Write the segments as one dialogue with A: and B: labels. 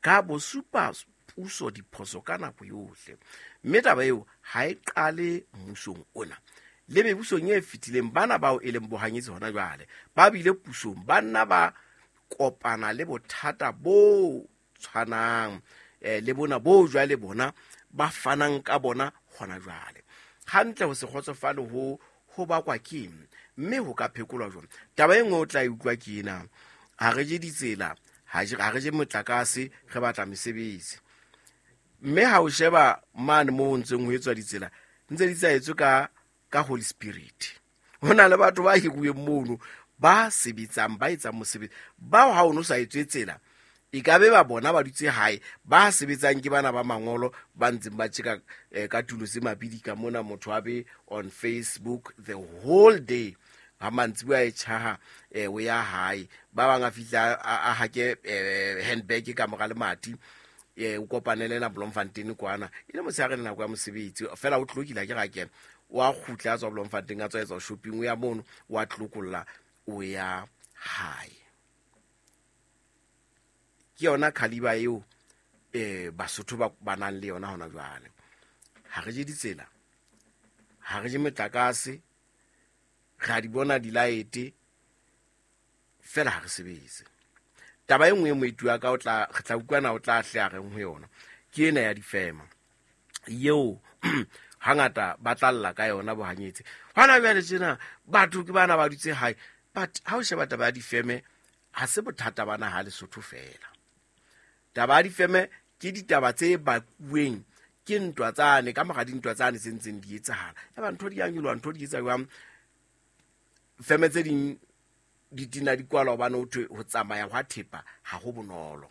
A: Ka bo supa puso diphoso ka nako yohle, mme taba eo ha e qale mmusong ona. Le mebusong e fetileng, bana bao e leng bohanyetsi hona jwale ba bile pusong, ba nna ba kopana le bothata bo tshwanang le bona bo jwale bona ba fanang ka bona hona jwale. Hantle ho se kgotsofale ho bakwa ke eng, mme ho ka phekolwa jwang? Taba e nngwe o tla e utlwa ke ena: ha re je ditsela, ha re je motlakase, re batla mesebetsi. Mme ha o sheba mane moo ho ntseng ho etswa ditsela, ntse di sa etswe ka Holy Spirit. Ho na le batho ba hiruweng mono, ba sebetsang, ba etsang mosebetsi. Bao ha o no sa etswe tsela, e ka be ba bona ba dutse hae. Ba sebetsang ke bana ba mangolo ba ntseng ba tjeka ka tulo tse mabidi ka mona. Motho a be on Facebook the whole day, ha mantsibuya e tjhaha o ya hae. Ba bang a fihla a hake handbag ka mora lemati, o kopanele na Bloemfontein kwana, e le motshehare, le nako ya mosebetsi fela o tlokile. Ke ra kena, o a kgutla, a tswa Bloemfontein, a tswa etsa shopping, o ya mono, o a tlokolla, o ya hae. Ke yona khaliba eo Basotho ba nang le yona hona jwale. Ha re je ditsela, ha re je motlakase, re a di bona dilaete fela, ha re sebetse. Taba e nngwe e moeti wa ka o tla re tla utlwana, o tla hle a reng ho yona, ke ena ya difema eo hangata ba tla lla ka yona bohanyetsi hona jwale tjena. Batho ke bana ba dutse hae, but ha o sheba taba ya difeme, ha se bothata ba naha Lesotho fela. Taba ya difeme ke ditaba tse bakuweng ke ntwa tsane, ka mora dintwa tsane tse ntseng di etsahala. Eba ntho di yang nyoloha, ntho di etsa jwang, feme tse ding di tina di kwalwa, hobane ho thwe ho tsamaya hwa thepa ha ho bonolo.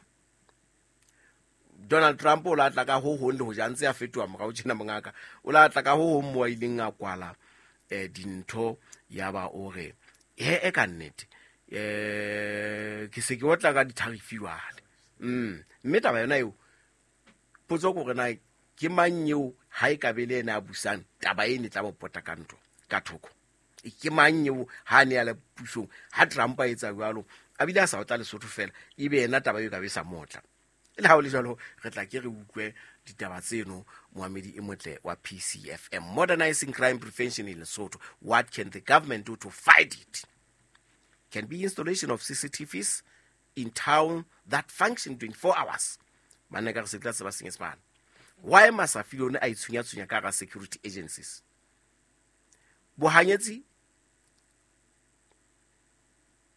A: Donald Trump o la tla ka ho hong, le ho ja ntse a fetoha morao tjena, mongaka, o la tla ka ho hong mo a ileng a kwala dintho. Ya ba o re he e ka nnete ke se ke otla ka di-tariff jwale. Mme taba yona eo, potso ke hore na ke mang eo ha e ka be le ena a busang, taba e ne tla mo pota ka ntho ka thoko? Ke mang eo ha a ne a le pusong, ha Trump a etsa jwalo, a bile a sa otla Lesotho fela, ebe yena taba eo ka be sa motla? Le ha o le jwalo, re tla ke re utlwe ditaba tseno. Moamedi e motle wa PCFM, modernizing crime prevention in Lesotho, what can the government do to fight it? Can be installation of CCTVs in town that function 24 hours. Banna, ka re se tla tseba Senyesemane. Why Masafilone a itshunya-tshunya ka hara security agencies? Bohanyetsi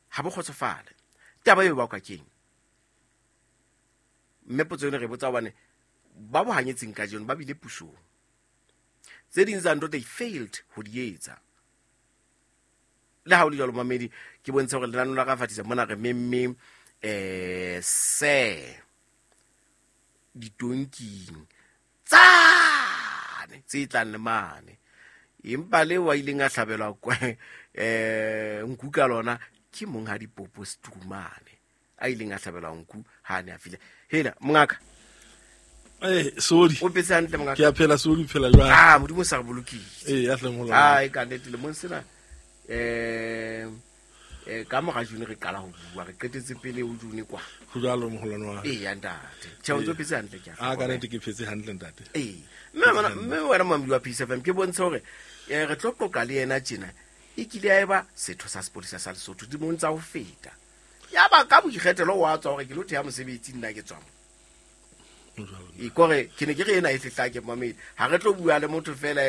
A: ha bo kgotsofale. Taba eo bakwa keng? Mme potso eno re botsa hobane ba bohanyetseng kajeno ba bile pusong, tse ding tsa ntho they failed ho di etsa. Le ha o le jwalo, mamedi, ke bontshe hore lenaneo la ka fatisa mona re memme se ditonking tsane tse tlang le mane, empa le wa ileng a hlabelwa nku ka lona ke monghadi Popo Strumane, a ileng a hlabelwa nku ha a ne a file. Hela mongaka.
B: Eh, sorry.
A: O phetse hantle, mongaka?
B: Ke a phela, sorry, phela jwang?
A: Ah, Modimo sa re bolokile.
B: Eh, ya hle mola.
A: Ai, ka nnete lemong sena ka mora June re qala ho bua, re qetetse pele ho June kwa.
B: Ho jwalo, moholwane wa.
A: Ee ya ntate, tjhe, o ntso phetse hantle, ke a
B: Ah, ka nnete ke phetse hantle, ntate.
A: Ee, mme wena moamedi wa PCFM, ke bontshe hore re tlo qoqa le yena tjena, e kile ya eba setho sa sepolesa sa Lesotho dilemong tsa ho feta, ya ba ka boikgethelo wa tswa hore ke lo theha mosebetsi, nna ke tswang.
B: Ho jwalo.
A: E kore ke ne ke re ena e fehla ke mamedi, ha re tlo bua le motho fela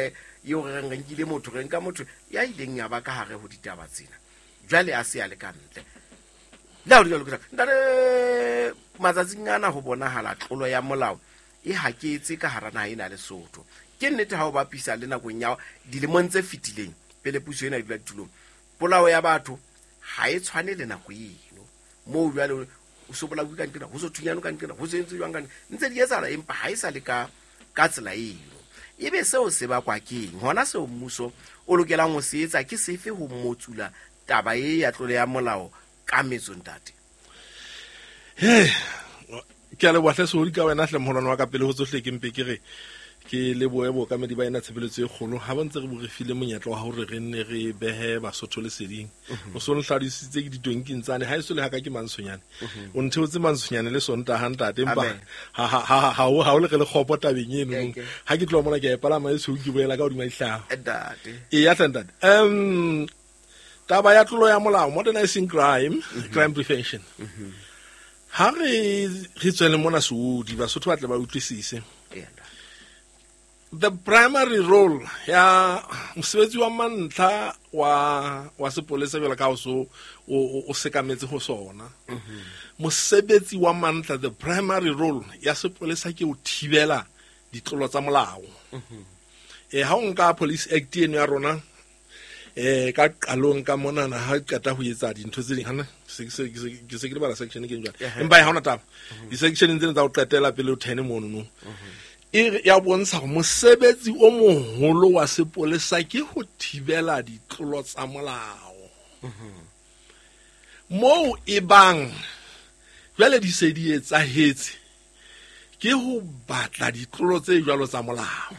A: eo re reng re nkile motho, re nka motho ya ileng ya ba ka hare ho ditaba tsena, jwale a se a le ka ntle. Le ha ho le jwalo, ke ntate, matsatsing ana ho bonahala tlolo ya molao e haketse ka hara naha ena Lesotho. Ke nnete, ha o bapisa le nakong ya dilemong tse fetileng pele puso ena e dula ditulong, polao ya batho ha e tshwane le nako eno moo jwale o so bolauwe ka nqena, ho so thunyano ka nqena, ho so entswe jwang ka nqena. Ntse di etsahala, empa ha e sa le ka tsela eno. Ebe seo se bakwa keng? Hona seo mmuso o lokelang ho se etsa ke sefe ho motsula taba e ya tlolo ya molao ka metso, ntate?
B: He, ke a leboha hle, sorry, ka wena hle, moholwane wa ka. Pele ho tsohle, ke mpe ke re Ke lebohe bookamedi ba ena tshebeletso e kgolo ha ba ntse re bo re file monyetla wa hore re nne re behe Basotho leseding. O so nhladisitse ke ditonking tsane ha eso le haka ke Mantshonyane. O ntheotse Mantshonyane le Sontaha ntate, empa
A: Amen.
B: ha o le re le kgopo tabeng eno.
A: Okay.
B: Ha ke tloha mona ke a e palama e tshweu ke boela ka hodima dihlaha.
A: Ntate.
B: Eya hle ntate. Taba ya tlolo ya molao, modernizing crime, crime prevention. Ha re re tswele mona Seodi, Basotho ba tle ba utlwisise.
A: Eya, ntate.
B: The primary role ya mosebetsi wa mantlha wa sepolesa jwalo ka ha o so o sekametse ho sona. Mosebetsi wa mantlha, the primary role ya sepolesa ke ho thibela ditlolo tsa molao. Ha o nka Police Act eno ya rona, ka qalong ka monana ha qeta ho etsa dintho tse ding, hana ke se ke lebala section ke jwale. Empa ha hona taba. Di-section tsena tsa ho qetela pele o thene mono no. E re, ya bontsha hore mosebetsi o moholo wa sepolesa ke ho thibela ditlolo tsa molao. Moo e bang jwale di se di etsahetse ke ho batla ditlolo tse jwalo tsa molao.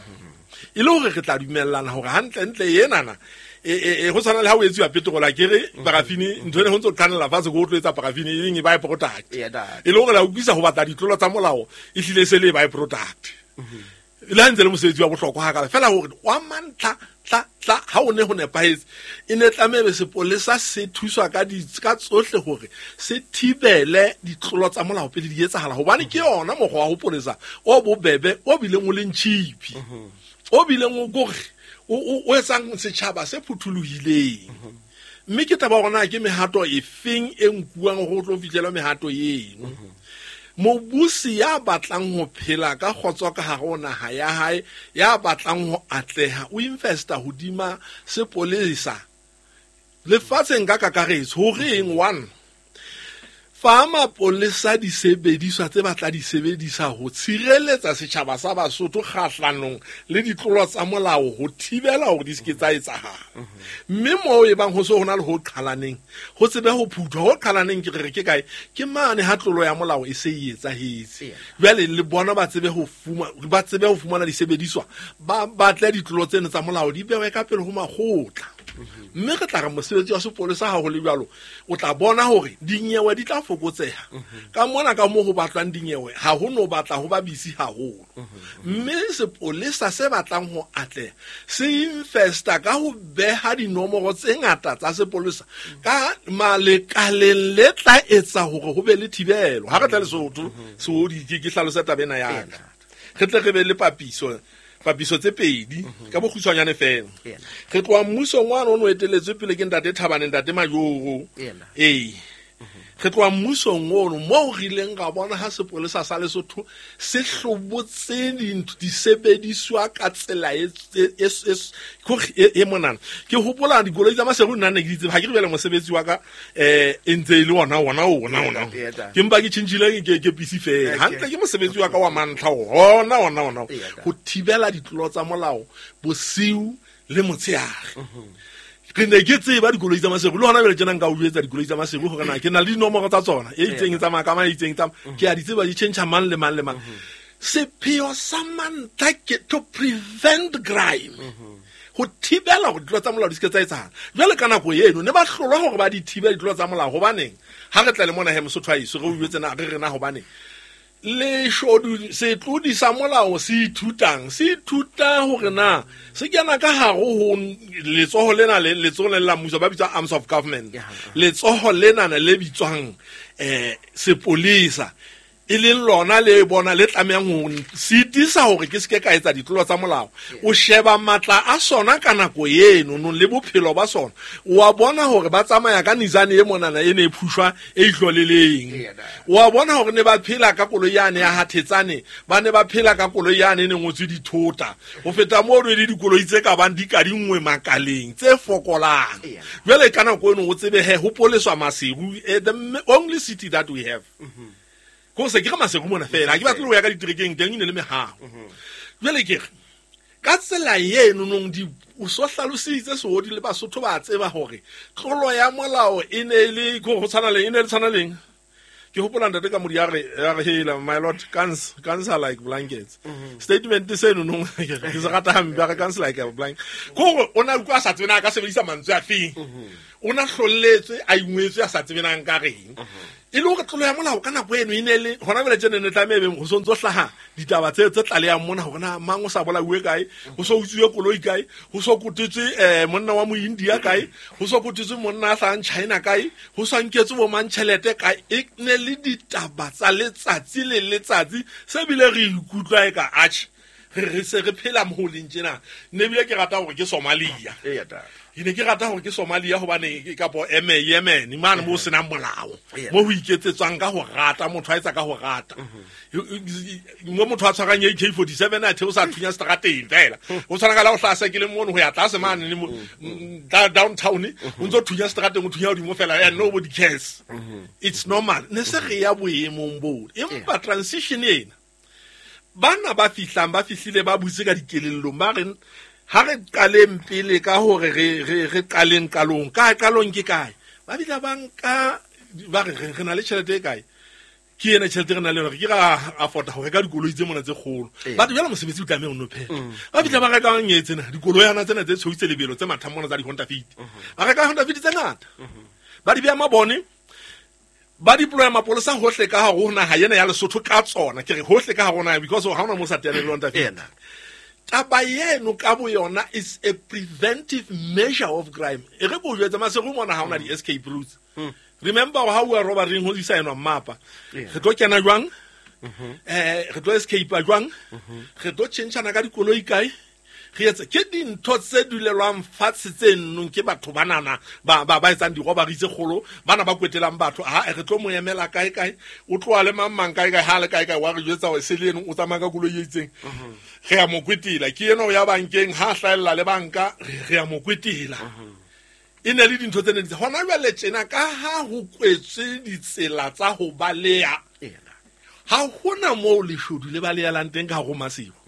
B: E le hore re tla dumellana hore hantlentle enana ho tshwana le ha o etsuwa petrol, a ke re parafini, ntho ene ho ntso qhanella fatshe ko o tlo etsa parafini, e leng e by product.
A: Eya, ntate.
B: E le hore la utlwisa ho batla ditlolo tsa molao, e hlile e se le by product. Le ha ntse le mosebetsi wa bohlokwa hakalo, fela hore wa mantlha, tla, tla, ha o ne ho nepahetse, e ne tlameha ebe sepolesa se thuswa ka tsohle hore se thibele ditlolo tsa molao pele di etsahala, hobane ke yona mokgwa wa ho polesa o bobebe, o bileng o leng cheap, o bileng o kore o etsang setjhaba se phuthulohileng. Mme ke taba hore na ke mehato e feng e nkuwang hore o tlo fihlela mehato eno. Mobusi ya batlang ho phela ka kgotso ka hare ho naha ya hae, ya batlang ho atleha, o investa hodima sepolesa lefatsheng ka kakaretso. Ho reng? One, fa mapolesa disebediswa tse batla di sebedisa ho tshireletsa setjhaba sa Basotho kgahlanong le ditlolo tsa molao, ho thibela hore di se ke tsa etsahala. Mme moo e bang ho se ho na le ho qhalaneng, ho tsebe ho phuthwa. Ho qhalaneng ke re ke kae? Ke mane ha tlolo ya molao e se e etsahetse. Jwale le bona ba tsebe ho fumana disebediswa, ba batle ditlolo tseno tsa molao di bewe ka pele ho makgotla. Mme re tla re mosebetsi wa sepolesa ha ho le jwalo, o tla bona hore dinyewe di tla fokotseha. Ka mona ka moo ho batlwang dinyewe, ha ho no batla ho ba busy haholo. Mme sepolesa se batlang ho atleha se investa ka ho beha dinomoro tse ngata tsa sepolesa ka malekaleng le tla etsa hore ho be le thibelo. Ha re tla Lesotho, Seodi, ke hlalose taba ena ya ka. Re tle re be le papiso tse pedi ka bokgutshwanyane fela. Re tloha mmusong wa rona o eteletswe pele ke ntate Thabane, ntate Majoro. Ee. Re tloha mmusong ono moo re ileng ra bona ha sepolesa sa Lesotho se hlobotse disebediswa ka tsela e monana. Ke hopola dikoloi tsa Maseru nna ne ke di tseba, ha ke re jwale mosebetsi wa ka, e ntse e le ona, ona, ona, ona. Ke mpa ke tjhentjhile ke pisi fela. Hantle ke mosebetsi wa ka wa mantlha ona, ona, ona. Ho thibela ditlolo tsa molao bosiu le motshehare. Re ne ke tseba dikoloi tsa Maseru, le hona jwale tjena nka o jwetsa dikoloi tsa Maseru hore na ke na le dinomoro tsa tsona, e itseng e tsamaya ka mang, e itseng e tsamaya. Ke a di tseba, di tjhentjha mang le mang le mang. Sepheo sa mantlha ke to prevent crime, ho thibela hore ditlolo tsa molao di se ke tsa etsahala. Jwale ka nako eno ne ba hlolwa hore ba di thibele ditlolo tsa molao. Hobaneng? Ha re tla le mona he Mosotho a eso, re o jwetse na re re na hobaneng? Leshodu setlodi sa molao se ithutang, se ithuta hore na se kena ka hare ho letsoho lena le letsoho le la mmuso ba bitswa arms of government. Letsoho lena le bitswang, sepolesa, e leng lona le bona le tlamehang ho sitisa hore ke se ke ka etsa ditlolo tsa molao. O sheba matla a sona ka nako eno nong le bophelo ba sona, wa bona hore ba tsamaya ka Nissan e monana e ne e phushwa e ihloleleng. Wa bona hore ne ba phela ka koloi yane ya Hathetsane, ba ne ba phela ka koloi yane e ne ngotswe dithota. Ho feta moo le dikoloi tse ka bang di kadinngwe makaleng tse fokolang. Jwale ka nako eno o tsebe he ho poleswa Maseru, the only city that we have. Ko se ke re Maseru mona fela, ha ke batle ho ya ka diterekeng teng e ne le mehaho. Jwale ke re ka tsela eno nong di o so hlalositse Seodi le Basotho ba tseba hore tlolo ya molao e ne e le ko ho tshwana le, e ne le tshwana leng. Ke hopola ntate ka modi ya re hela my lord, guns are like blankets. Statement seno no ke se rata hampe, a re guns like a blanket. Ko o na utlwa a sa tsebe na a ka sebedisa mantswe a feng. O na hlolletswe a ingwetswe a sa tsebe na nka reng. E le hore tlolo ya molao ka nako eno e ne le hona jwale tjena ne tlameha ebe ho sontso hlaha ditaba tse tlalehang mona hore na mang o sa bolauwe kae, ho so utsuwe koloi kae, ho so kotetswe monna wa Moindia kae, ho so kotetswe monna a hlahang China kae, ho sa nketswe bo mang tjhelete kae. E ne le ditaba tsa letsatsi le letsatsi se bile re ikutlwa e ka atjhe re se re phela mo leng tjena. Ne bile ke rata hore ke Somalia. Ke ne ke rata hore ke Somalia hobane kapo Yemen mane mo senang molao, mo ho iketsetswang ka ho rata, motho a etsa ka ho rata. Mo motho a tshwarang AK47 a theosa thunya strateng fela. O tshwana ka la o hlasa ke le mono ho ya tlase mane le downtown, o ntso thunya strateng, o thunya hodimo fela, and nobody cares. It's normal. Ne se re ya boemong bo. Empa transition ena bana ba fihlang ba fihlile ba butse ka dikelellong, ba re ha re qaleng pele ka hore re qaleng qalong, ka qalong ke kae, ba bitla banka ba re re na le tjhelete e kae, ke ena tjhelete re na le yona, re ke ra afford ho reka dikoloi tse mona tse kgolo. Batho jwale mosebetsi o tlameha o no phela. Ba bitla ba reka ngetse tsena dikoloyana tsena tse tshweu tse lebelo tse mathang mona tsa di-Honda Fit. Ba reka Honda Fit tse ngata, ba di beha mabone, ba deploya mapolesa hohle ka hare ho naha ena ya Lesotho ka tsona. Ke re hohle ka hare ho naha because ha hona mo sa teaneng le Honda Fit. Taba eno ka bo yona is a preventive measure of crime. E re ko jwetsa Maseru mona ha hona di-escape routes. Remember how we are robbering ho isa eno mmapa. Re tlo kena jwang? Re tlo escape jwang? Re tlo tjhentjhana ka dikoloi kae? Re etse ke dintho tse dulelwang fatshe tse nnong ke batho banana ba etsang dirobbery tse kgolo, bana ba kwetelang batho. Ha re tlo mo emela kae kae, o tloha le mang mang kae kae, ha le kae kae, wa re jwetsa hore se le eno o tsamaya ka koloi e itseng. Re a mo kwetela, ke ena o ya bankeng, ha hlahella le banka, re a mo kwetela. E ne le dintho tse ne di hona jwale tjena ka ha ho kwetswe ditsela tsa ho baleha, ha hona moo leshodu le balehelang teng ka hare ho Maseru.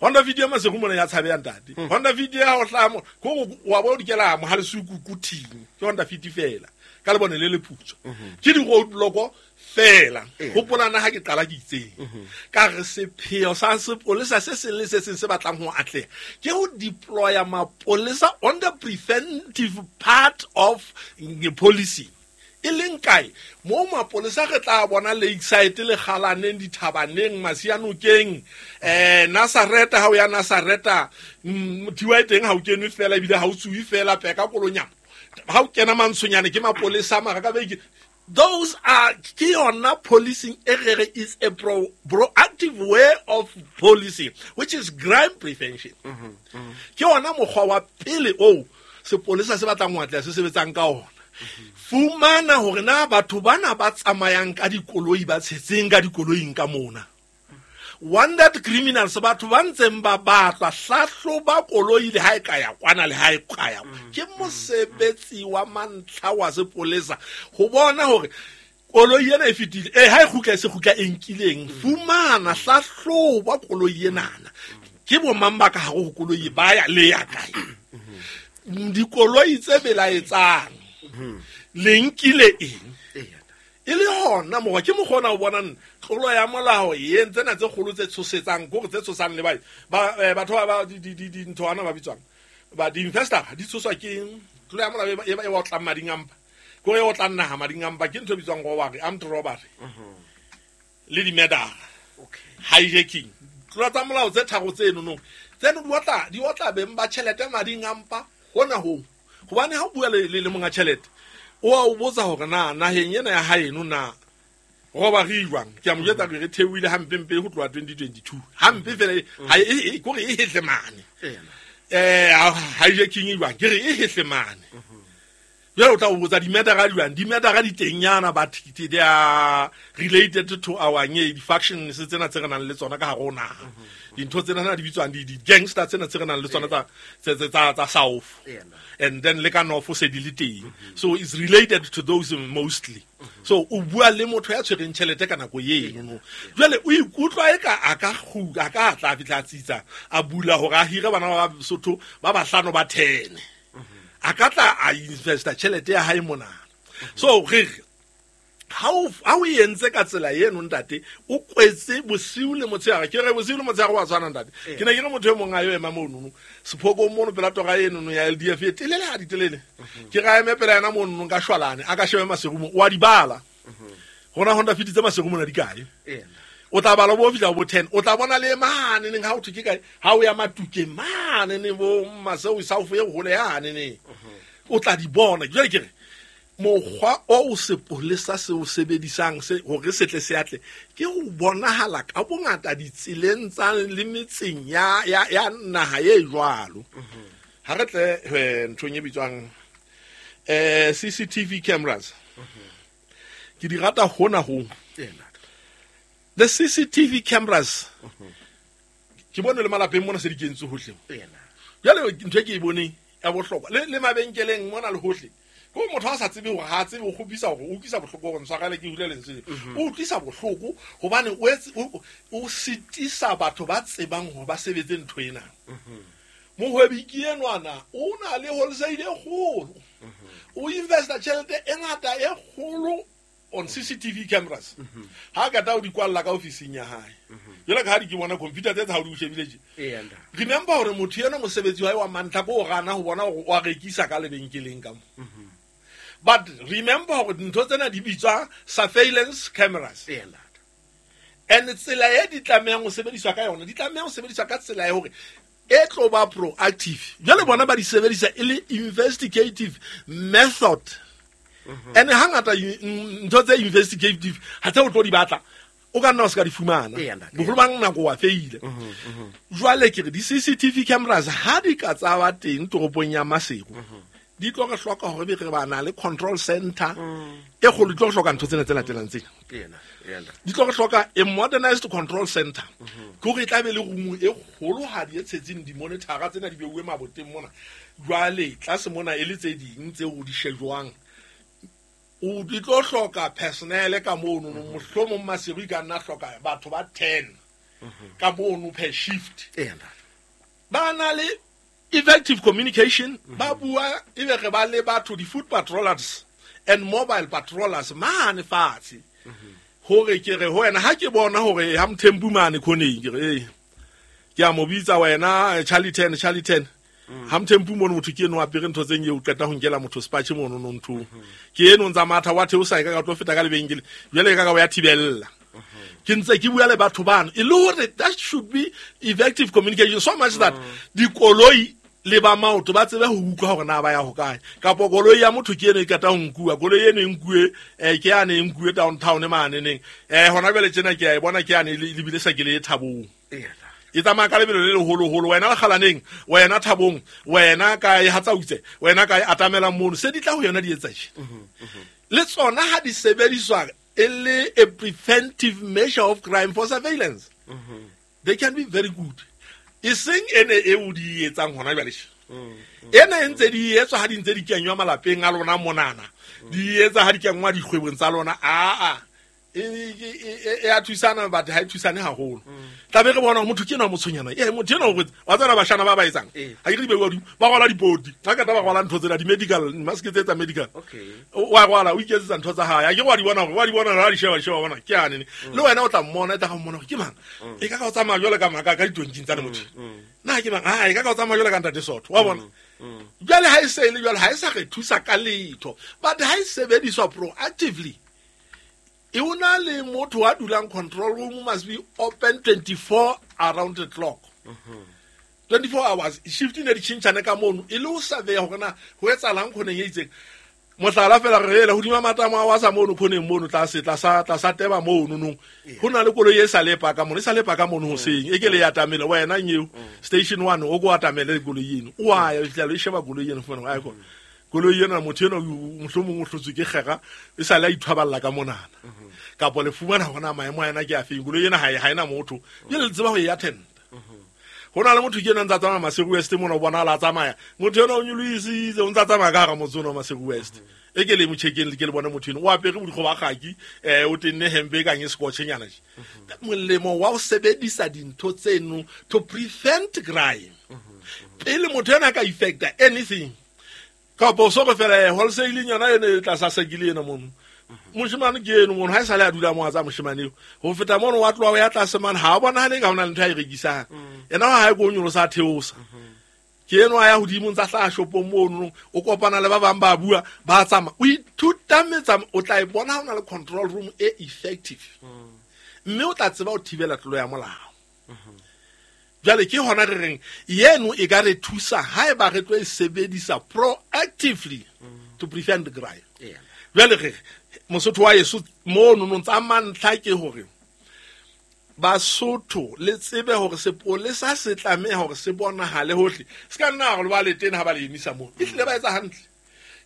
B: Honda Fit ya Maseru mona ya tshabeha ntate. Honda Fit ya ho hlaha mo, ko wa bo dikela mo ha le suku kuthing. Ke Honda Fit fela. Ka lebone le leputswa. Ke di roadblock fela. Hopola na ha ke qala ke itseng. Ka re sepheo sa sepolesa se seng le se seng se batlang ho atleha ke ho deploya mapolesa on the preventive part of the policy. E leng kae mo mapolesa re tla bona Lakeside le Kgalaneng, dithabaneng, Masianokeng, Nazareta, ha o ya Nazareta, thiwa e teng ha o kenwe fela ebile ha o tsuwe fela peka kolonyana. Ha o kena mantshonyane ke mapolesa mara ka beke. Those are ke yona policing e re re is a proactive way of policing, which is crime prevention. Ke yona mokgwa wa pele oo sepolesa se batlang ho atleha se sebetsang ka ona. Fumana hore na batho bana ba tsamayang ka dikoloi ba tshetseng ka dikoloing ka mona. Wandered criminals, batho ba ntseng ba batlwa, hlahloba koloi le ha e ka ya kwana le ha e ka ya. Ke mosebetsi wa mantlha wa sepolesa ho bona hore koloi ena e fetile, ha e kgutla e se kgutla e nkileng. Fumana, hlahloba koloi enana. Ke bo mang ba ka hare ho koloi ba ya le ya kae? Dikoloi tse belaetsang le nkile eng? E le hona mokgwa ke mokgwa ona o bonang tlolo ya molao e entse tsena tse kgolo tse tshosetsang, kore tse tshosang le batho ba dintho bana ba bitswang ba di-investor di tshoswa ke tlolo ya molao e otlang mading a mpa, kore e otlang naha mading a mpa, ke ntho e bitswang robbery, armed robbery le di-murder, hijacking. Tlolo tsa molao tse tharo tseno no tseno di otla beng ba tjhelete mading a mpa hona hoo. Hobane ha o bua le monga tjhelete, o a o botsa hore na naheng ena ya haeno na robbery jwang. Ke a mo jwetsa re theohile hampempe ho tloha 2022. Hampe fela ha e kore e hetle mane. Hijacking jwang, ke re e hetle mane. Jwale o tla o botsa di-murder jwang, di-murder di teng yana, but they are related to our di-factions tsena tse re nang le tsona ka hare ho naha. Dintho tsena tsena di bitswang di-gangster tsena tse re nang le tsona tsa South. And then le ka North se di le teng. So it's related to those mostly. So o bua le motho ya tshwereng tjhelete ka nako eno no. Jwale o ikutlwa e ka a ka a ka tla fihla tsitsa a bula hore a hire bana ba Sotho ba bahlano ba 10. A ka tla a investa tjhelete ya hae mona. So re Ha o entse ka tsela eno ntate, o kwetse bosiu le motshehare. Ke re bosiu le motshehare wa tshwana ntate. Ke ne ke re motho e mong a yo ema monono sephokong mono pela tora enono ya LDF e telele ha di telele. Ke ra eme pela yena monono ka shwalane, a ka shebe maserumo, wa di bala. Rona Honda Fit tse maserumo na di kae? O tla bala bo fihla bo 10, o tla bona le mane neng ha o thwe ke kae, ha o ya Matukeng mane neng bo Maseo South e hole yane neng. O tla di bona. Jwale ke re mokgwa o sepolesa se o sebedisang se hore se tle se atle ke ho bonahala ka bongata ditseleng tsa le metseng ya ya ya naha e jwalo. Ha re tle nthong e bitswang CCTV cameras. Ke di rata hona ho. The CCTV cameras. Ke bone le malapeng mona se di kentswe hohle. Jwale ntho e ke e boneng ya bohlokwa le mabenkeleng mona le hohle. Ko motho a sa tsebe hore ha tsebe o kgopisa hore o utlwisa bohloko hore ntshwarele ke hule lentswe. O utlwisa bohloko hobane o sitisa batho ba tsebang hore ba sebetse ntho ena. Mohwebi ke enwana o na le wholesale e kgolo. O investa tjhelete e ngata e kgolo on CCTV cameras. Ha ka ta o di kwalla ka ofising ya hae. Jwale ka ha di ke bona computer tse tsa ha o di shebile tje. Remember hore motho ena mosebetsi wa hae wa mantlha ko o gana ho bona hore wa rekisa ka lebenkeleng ka mo. But remember hore dintho tsena di bitswa surveillance cameras. And tsela e di tlamehang ho sebediswa ka yona, di tlameha ho sebediswa ka tsela ya hore e tlo ba proactive. Jwale bona ba di sebedisa e le investigative method. And hangata ntho tse investigative ha tse o tlo di batla o ka nna o se ka di fumana. Boholo ba nako wa feile. Jwale ke re di CCTV cameras ha di ka tsa ba teng toropong ya Maseru, di tlo re hloka hore be re ba na le control center e kgolo. Di tlo re hloka ntho tsena tse latelang tsena. Di tlo re hloka a modernized control center. Ke hore e tla be le room e kgolohadi e tshetseng di-monitor-a tsena di beuwe maboteng mona. Jwale tlase mona e le tse ding tseo di shejwang. O di tlo hloka personnel ka mono, mohlomong Maseru e ka nna hloka batho ba 10 ka mono per shift. Ba na le effective communication, ba bua ebe re ba le batho di foot patrollers and mobile patrollers mane fatshe. Hore ke re ho wena ha ke bona hore ha Mthembu mane khoneng ke re ke a mo bitsa wena Charlie 10 Charlie 10. Ha Mthembu mono motho ke eno apere ntho tse eo qeta ho nkela motho spatche mono no ntho. Ke eno ntsa matha wa theosa e ka ka tlo feta ka lebenkele. Jwale e ka ka ya thibella. Ke ntse ke bua le batho bano e le hore that should be effective communication so much that dikoloi le ba maoto ba tsebe ho utlwa hore na ba ya hokae. Kapa koloi ya motho ke eno e qeta ho nkuwa, koloi eno e nkuwe ke yane e nkuwe downtown mane neng. Hona jwale tjena ke a e bona ke yane le bile sa ke le Thabong. E tsamaya ka lebelo le leholoholo, wena Lekgalaneng, wena Thabong, wena kae Hatsautse, wena kae Atamelang mono, se di tla ho yona di etsa tje. Le tsona ha di sebediswa e le a preventive measure of crime for surveillance. They can be very good. E seng ene e o di etsang hona jwale. Ene e ntse di etswa ha di ntse di kenywa malapeng a lona monana. Di etsa ha di kenngwa dikgwebong tsa lona. Aa e a thusana but ha e thusane haholo. Tla be re bona motho ke ena motshonyana. Motho ena o wa tsena bashana ba ba etsang. Ha ke re di beuwa hodimo, ba rwala dipoti. Ha ka ba rwala ntho tsena di medical mask tse tsa medical. Wa rwala o iketsetsa ntho tsa hae. Ha ke wa di bona hore wa di bona ha di sheba di sheba bona ke ane. Le wena o tla mmona e tla ga mmona hore ke mang. E ka ka o tsamaya jwale ka maka ka ditonking tsa le motho. Na ke mang? Ha e ka ka o tsamaya jwale ka ntate Sotho. Wa bona? Jwale ha e se le jwale ha e sa re thusa ka letho. But ha e sebediswa proactively, e ona le motho wa dulang control room must be open 24 around the clock. 24 hours shift ne di tjhentjhane ka mono e le ho survey hore na ho etsahalang khoneng e itseng. Mohlala fela re ela hodima matamo a wa sa mono khoneng mono tlase tlasa tlasa teba mono nong. Ho na le koloi e sa lepa ka mono, e sa lepa ka mono hoseng. E ke le ya tamele wena nyeo station 1 o go atamele koloi eno. O a ya fihla le sheba koloi eno fona a ko. Koloi ena motho ena mohlomong o hlotswe ke kgera e sa le a ithwaballa ka monana. Kapa le fumana hona maemo a ena ke a feng koloi ena ha ena motho. Jwale le tseba ho e attend. Ho na le motho ke ena ntsa tsamaya Maseru West mona o bona la tsamaya. Motho ena o nyolohisitse o ntsa tsamaya ka hara motse ona wa Maseru West. E ke le mo check-eng ke le bone motho ena o apere bodikgo ba kgaki, o tenne hempe e kang e scotch-nyana tje. Molemo wa ho sebedisa dintho tseno to prevent crime. Pele motho ena a ka effecta anything. Kapa o so re fela wholesale yona ene e tlasa sekile ena mono. Moshemane ke eno mono, ha e sale a dula mo a tsa moshemane eo. Ho feta mono wa tloha o ya tlase mane, ha a bonahale ka ho na le ntho a e rekisang. Yena wa hae ko o nyolosa a theosa. Ke eno a ya hodimo ntsa hlaha shopong mono, o kopana le ba bang ba bua, ba tsamaya. O ithuta metsamao, o tla e bona ha o na le control room e effective. Mme o tla tseba ho thibela tlolo ya molao. Jwale ke hona re reng yeno e ka re thusa haeba re tlo e sebedisa proactively to prevent the crime. Jwale re Mosotho wa yeso mono no tsa mantlha ke hore Basotho le tsebe hore sepolesa se tlameha hore se bonahale hohle. Se ka nna hore ba le teng ha ba le emisa moo. Ehlile ba etsa hantle.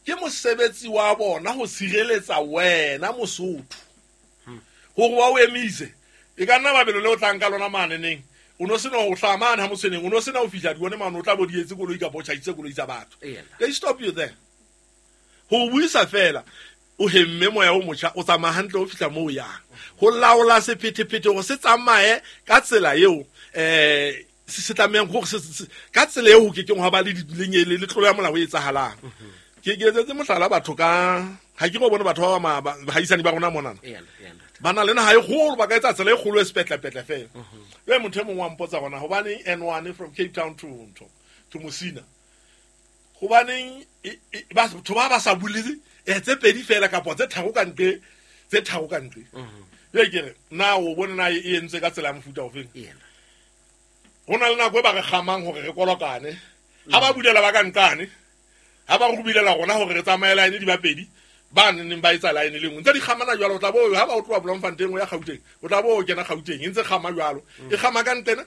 B: Ke mosebetsi wa bona ho sireletsa wena Mosotho. Hore wa o emise. E ka nna babelo le o tlang ka lona mane neng. O no sena ho hlaha mane ha Motshweneng, o no sena ho fihla dione mane, o tla bo di etse koloi kapa o tjhaisitse koloi tsa batho. They stop you there. Ho buisa fela, o hemme moya o motjha, o tsamaya hantle o fihla moo o yang. Ho laola sephethephethe hore se tsamaye ka tsela eo, se tlamehang hore se, ka tsela eo ho kekeng hwa ba le le tlolo ya molao e etsahalang. Ke etsetse mohlala batho ka, ha ke re o bone batho ba ba bahaisane ba rona monana. Ba na le naha e kgolo, ba ka etsa tsela e kgolo e sepetlepetle fela. Jwale motho e mong wa mpotsa hore na hobaneng N1 from Cape Town to ntho, to Musina. Hobaneng batho ba ba sa bule tse pedi fela kapa tse tharo ka ntle, tse tharo ka ntle. Jwale ke re, na o bone na e entswe ka tsela ya mofuta ofeng? Ho na le nako e ba re kgamang hore re kolokane. Ha ba bulela ba ka nqane, ha ba re bulela rona hore re tsamaye line di ba pedi, ba neng ba etsa line le nngwe. Ntse di kgamana jwalo, o tla bo ha ba o tloha Bloemfontein o ya Gauteng, o tla bo o kena Gauteng, e ntse kgama jwalo. E kgama ka ntlena,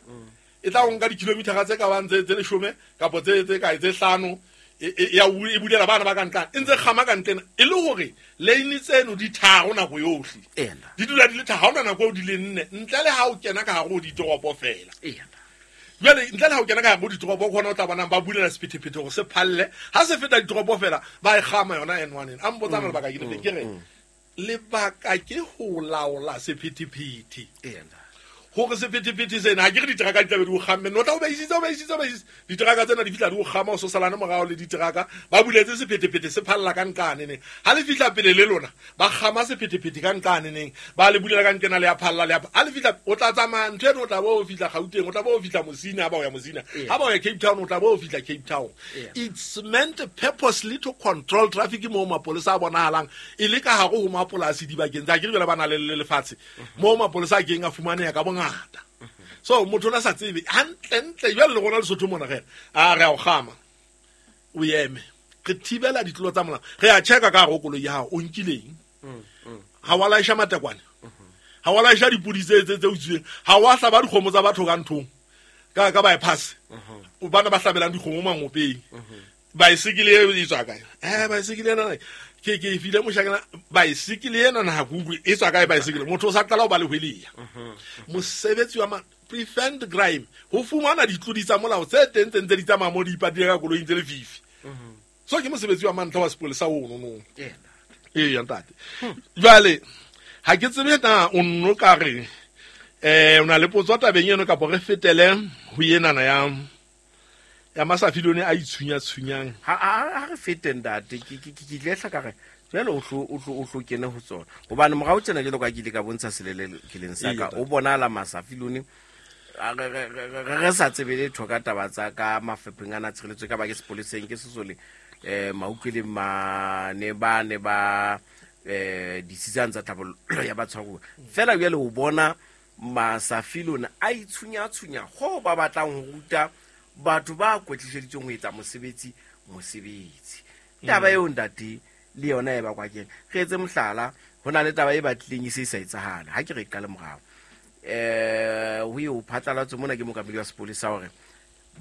B: e tla o nka di-kilometer tse ka bang tse leshome kapa tse kae, tse hlano, e bulela bana ba ka ntlane, e ntse kgama ka ntlena, e le hore lane tseno di tharo nako yohle. Di dula di le tharo, ha hona nako eo di le nne, ntle le ha o kena ka hare ho ditoropo fela. Jwale ntle le ha o kena ka hare ho ditoropo, ke hona o tla bonang ba bulela sephethephethe hore se phalle. Ha se feta ditoropo fela, ba e kgama yona N1 ena. A mpotsa lebaka ke lefe? Ke re, lebaka ke ho laola sephethephethe. Hore sephethephethe sena, ha ke re diteraka di tla be di o kgamme, no tla o beisitse, o beisitse, o beisitse. Diteraka tsena di fihla di o kgama, o sosalane morao le diteraka, ba buletse sephethephethe se phalla ka nqane neng. Ha le fihla pele le lona, ba kgama sephethephethe ka nqane neng, ba le bulela ka nqena le ya phalla, le ya ha le fihla, o tla tsamaya ntho eno, o tla bo o fihla Gauteng, o tla bo o fihla Musina, ha ba o ya Musina. Ha ba o ya Cape Town, o tla bo o fihla Cape Town. It's meant purposely to control traffic moo mapolesa a bonahalang e le ka hare ho mapolasi dibakeng tsa, ke re jwale ba na le lefatshe moo mapolesa a keng a fumaneha ka bongata. So motho o na sa tsebe hantlentle jwale le rona Lesotho mona re a re a o kgama, o eme, re thibela ditlolo tsa molao, re a checka ka hare ho koloi ya hao, o nkileng, ha wa laesha matekwane, ha wa laesha dipodi tse utswileng, ha wa hlaba dikgomo tsa batho ka nthong, ka bypass, bana ba hlabelang dikgomo mangopeng. Baesekele eo e tswa kae? Baesekele ena ke e file moshakana, baesekele ena na ha ke utlwe e tswa kae baesekele? Motho o sa qala ho ba le hweleya. Mosebetsi wa prevent crime, ho fumana ditlodi tsa molao tse teng tse ntse di tsamaya mo di ipatile ka koloing tse lefifi. So ke mosebetsi wa mantlha wa sepolesa ono no. Ee, ntate. Jwale ha ke tsebe na o nno ka re, o na le potso tabeng eno kapa re fetele ho enana ya Masafilone a itshunya-tshunyang.
A: Ha re fete ntate, ke ile hla ka re jwale o hlo kene ho tsona. Hobane morao tjena jwalo ka ke ile ka bontsha selelekeleng sa ka, o bonahala Masafilone re sa tsebe letho ka taba tsa ka mafapheng ana a tshireletso, ka ba ke sepoleseng, ke sesole, mautlweleng mane ba ne ba, disitsane tsa tlhabollo ya batshwaruwa. Feela jwale o bona Masafilone a itshunya-tshunya ho ba batlang ho ruta batho ba kwetliseditsweng ho etsa mosebetsi. Taba eo ntate le yona e bakwa keng? Re etse mohlala, ho na le taba e batlileng e se e sa etsahale. Ha ke re qale morao. Ho eo phatlalatswe mona ke mookamedi wa sepolesa hore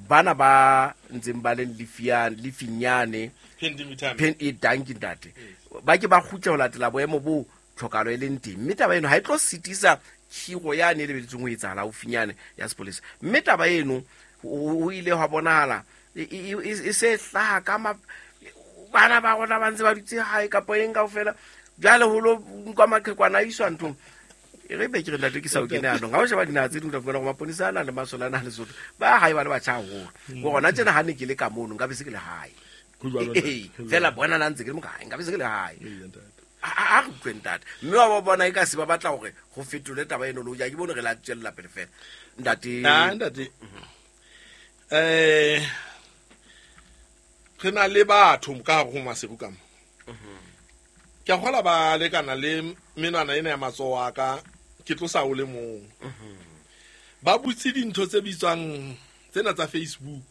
A: bana ba ntseng ba le lefinyane,
B: Pen
A: e danki ntate. Ba ke ba kgutle ho latela boemo bo tlhokahalo e leng teng. Mme taba eno ha e tlo sitisa khiro yane e lebeletsweng ho etsahala haufinyane ya sepolesa. Mme taba eno ho ile hwa bonahala e se hlaha ka bana ba rona ba ntse ba dutse hae kapa eng kaofela. Jwale ho lo nkwa maqhekwana a iswa nthong. E re be ke re ntate ke sa o kene anong. Ha o sheba dinaha tse ding, o tla fumana hore maponesa a na le masole a na le Lesotho. Ba hae ba le batjha haholo. Ho rona tjena ha ne ke le ka mono, nka be se ke le hae.
B: Ho jwalo, ntate.
A: Fela bona na ntse ke le mo kae, nka be se ke le hae.
B: Ee, ntate.
A: A re utlwe ntate, mme wa ba bona e ka se ba batla hore ho fetole taba eno, le hoja ke bone re la tswella pele fela, ntate.
B: Ah, ntate, re na le batho ka hare ho Maseru ka mo. Ke a kgola ba lekana le menwana ena ya matsoho a ka, ke tlosa o le mong. Ba butse dintho tse bitswang tsena tsa Facebook.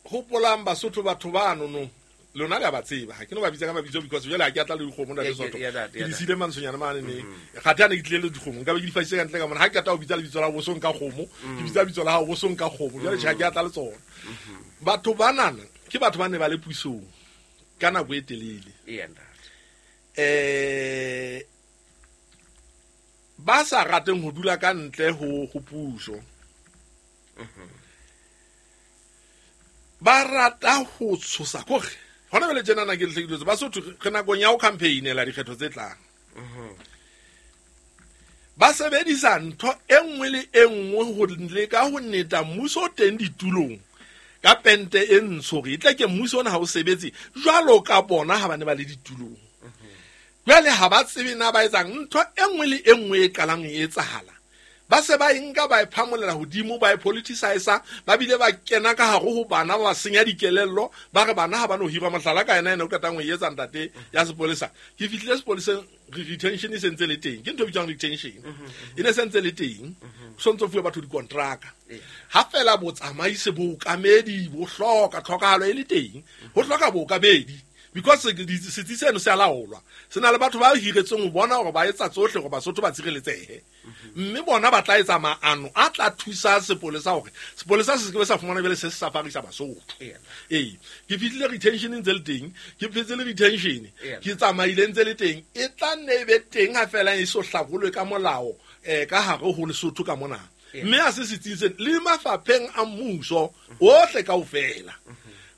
B: Hopolang Basotho, batho ba nono lona le a ba tseba, ha ke no ba bitsa ka mabitso because jwale ha ke atla le dikgomo, ntate Sotho. Ke di siile mantshonyana mane ne gate a ne ke tlile le dikgomo, nka be ke di fasitse ka ntle ka mona. Ha ke qeta ho bitsa lebitso la bosong ka kgomo, ke bitsa lebitso la hao bosong ka kgomo. Jwale tjhe, ha ke atla le tsona. Batho banana ke batho ba ne ba le pusong ka nako e telele,
A: Ntate.
B: Ba sa rateng ho dula ka ntle ho puso, ba rata ho tshosa kore hona jwale tjenana ke lehlekiletse Basotho re nakong ya ho campaignela dikgetho tse tlang. Ba sebedisa ntho e nngwe le e nngwe ho leka ho neta mmuso o teng ditulong ka pente e ntsho, hore e tle ke mmuso ona ha o sebetse jwalo ka bona ha ba ne ba le ditulong. Jwale ha ba tsebe na ba etsang. Ntho e nngwe le e nngwe e qalang e etsahala, ba se ba e nka, ba e phamolela hodimo, ba e politicize, ba bile ba kena ka hare ho bana, ba senya dikelello, ba re bana ha ba no hirwa. Mohlala ka ena, ena o qetang ho e etsa, ntate, ya sepolesa. Ke fihlile sepoleseng, retention e sentse le teng, ke ntho e bitswang retention, e ne sentse le teng, so ntso fuwe batho dikontraka. Ha fela botsamaisi, bookamedi bo hloka, tlhokahalo e le teng, ho hloka bookamedi because setsi seno se a laolwa, se na le batho ba hiretsweng ho bona hore ba etsa tsohle hore Basotho ba tshireletsehe, mme bona ba tla etsa maano a tla thusa sepolesa hore sepolesa se seke sa fumana jwale se se safarisa Basotho. Ee, ke fihlile retention ntse le teng, ke phetse le retention, ke tsamaile ntse le teng, e tla nne e be teng ha fela e so hlakolwe ka molao ka hare ho Lesotho ka mona. Mme a se setsing sena le mafapheng a mmuso ohle kaofela,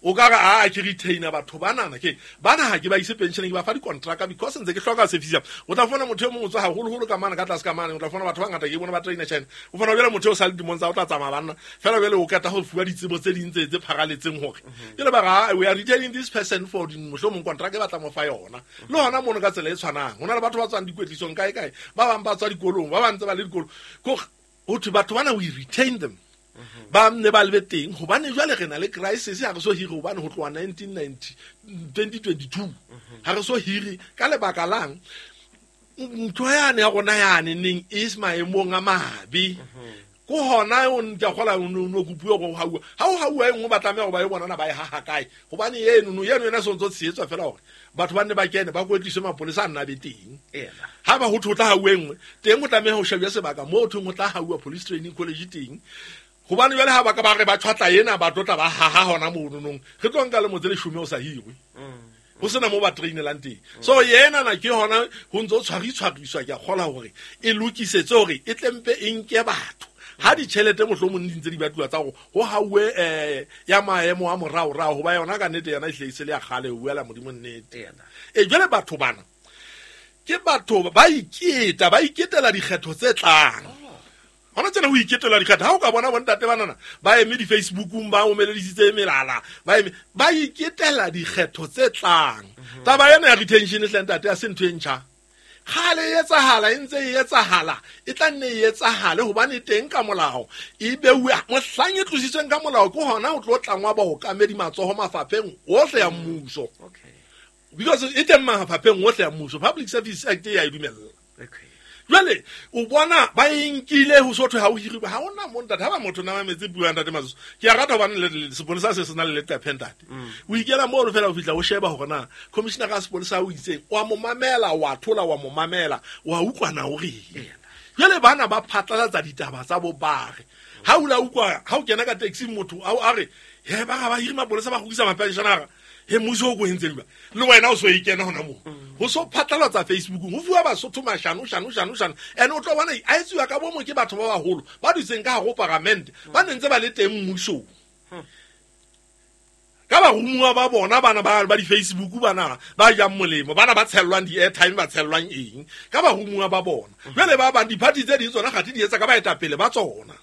B: o ka re a ke retainer batho banana, ke bana ha ke ba ise pension, ke ba fa dikontraka because ntse ke hloka service. O tla fumana motho e mong o tswa haholoholo ka mane ka tlase ka mane, o tla fumana batho ba ngata ke bona ba trainer China. O fumana jwale motho eo sa le dimong tsa o tla tsamaya banna fela, jwale o qeta ho fuwa ditsebo tse ding tse pharaletseng hore jwale ba re, we are retaining this person for mohlomong contract e batla mo fa yona. Le hona mono ka tsela e tshwanang, ho na le batho ba tswang dikwetlisong kae kae, ba bang ba tswa dikolong, ba bang ntse ba le dikolo, ho thwe batho bana we retain them, ba ne ba lebe teng hobane jwale re na le crisis, ha re so hire hobane ho tloha 1990 2022 ha re so hire. Ka lebaka lang? Ntho yane ya rona yane neng e se maemong a mabe, ko hona o ntse gola o no kopuwe go hauwa, ha o hauwa e nngwe ba tlameha go ba e bonana ba e haha kae, hobane eno no eno yona se ntse tshehetswa fela hore batho ba nne ba kene ba kwetliswe, mapolesa a nna be teng. Ha ba ho thwe ho tla hauwa e nngwe teng, ho tlameha ho shebuwe sebaka moo thweng ho tla hauwa police training college teng, hobane jwale ha ba ka ba re ba tshwatla ena, ba tlo tla ba haha hona mono nong, re tlo nka lemo tse 10 o sa hirwe, ho sena moo ba trainelang teng. So yena na ke hona ho ntse o tshwaritshwariswa, ke a kgola hore e lokisetse hore e tlempe e nke batho ha ditjhelete mohlomong di ntse di batluwa tsa hore ho hauwe ya maemo a moraorao, hoba yona ka nnete yona e hle e se le ya kgale, ho buela Modimo nnete. E jwale batho bana ke batho ba iketa, ba iketela dikgetho tse tlang hona tsena, ho iketela dikgetho. Ha o ka bona bontate banana ba eme di-Facebookong, ba omeledisitse melala, ba eme ba iketela dikgetho tse tlang. Taba ena ya retention hle ntate, ha se ntho e ntjha, kgale e etsahala, e ntse e etsahala, e tla nne e etsahale hobane teng ka molao e beuwe. Mohlang e tlositsweng ka molao, ke hona ho tlo tlangwa baokamedi matsoho mafapheng ohle ya mmuso, because e teng mafapheng ohle ya mmuso, Public Service Act e ya e dumella. Jwale o bona ba e nkile ho so thwe ha o hiriwe, ha ona mo ntate, ha ba motho na mametse puo ya ntate Matsoso. Ke a rata hobane sepolesa se se na le leqephe, ntate. O ikela mono fela, o fihla o sheba hore na commissioner ka sepolesa o itseng, wa mo mamela, wa thola, wa mo mamela, wa utlwana o reng. Jwale bana ba phatlalatsa ditaba tsa bo bare ha o la utlwa, ha o kena ka taxi, motho a re he ba ga ba hiri mapolesa, ba kgutlisa mapensionara, he mmuso o ko entseng jwang, le wena o so e kena hona moo ho so phatlalatsa Facebookong, ho fuwa Basotho mashano shano shano shano. And o tlo bona a etsiwa ka bomo ke batho ba baholo ba dutseng ka hare ho paramente, ba ne ntse ba le teng mmusong ka barumuwa ba bona bana ba di-Facebook, bana ba jang molemo, bana ba tshellwang di-airtime, ba tshellwang eng ka barumuwa ba bona. Jwale ba bang di-party tse ding tsona gate di etsa ka baetapele ba tsona.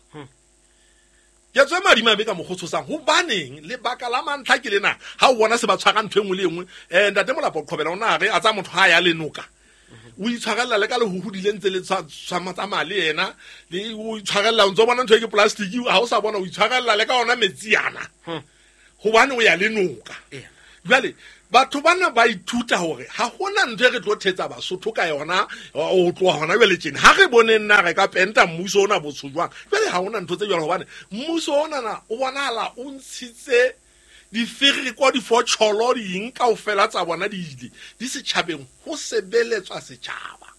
B: Ke tswe madimabe ka mokgwa o tshosang. Hobaneng? Lebaka la mantlha ke lena. Ha o bona se ba tshwara ntho e nngwe le e nngwe, ntate Molapo Qhobela o na re a tsa motho ha ya le noka. O itshwarella le ka lehuhudi le ntse le tsamaya le yena, le o itshwarella, o ntso bona ntho e ke plastic, ha o sa bona o itshwarella le ka ona metsi ana. Hobane o ya le noka. Jwale batho bana ba ithuta hore ha hona ntho e re tlo thetsa Basotho ka yona o tloha hona jwale tjena. Ha re boneng na re ka penta mmuso ona botsho jwang. Jwale ha hona ntho tse jwalo hobane mmuso ona na o bonahala o ntshitse difereko, difotjholo, ding kaofela tsa bona di ile di setjhabeng ho sebeletswa setjhaba.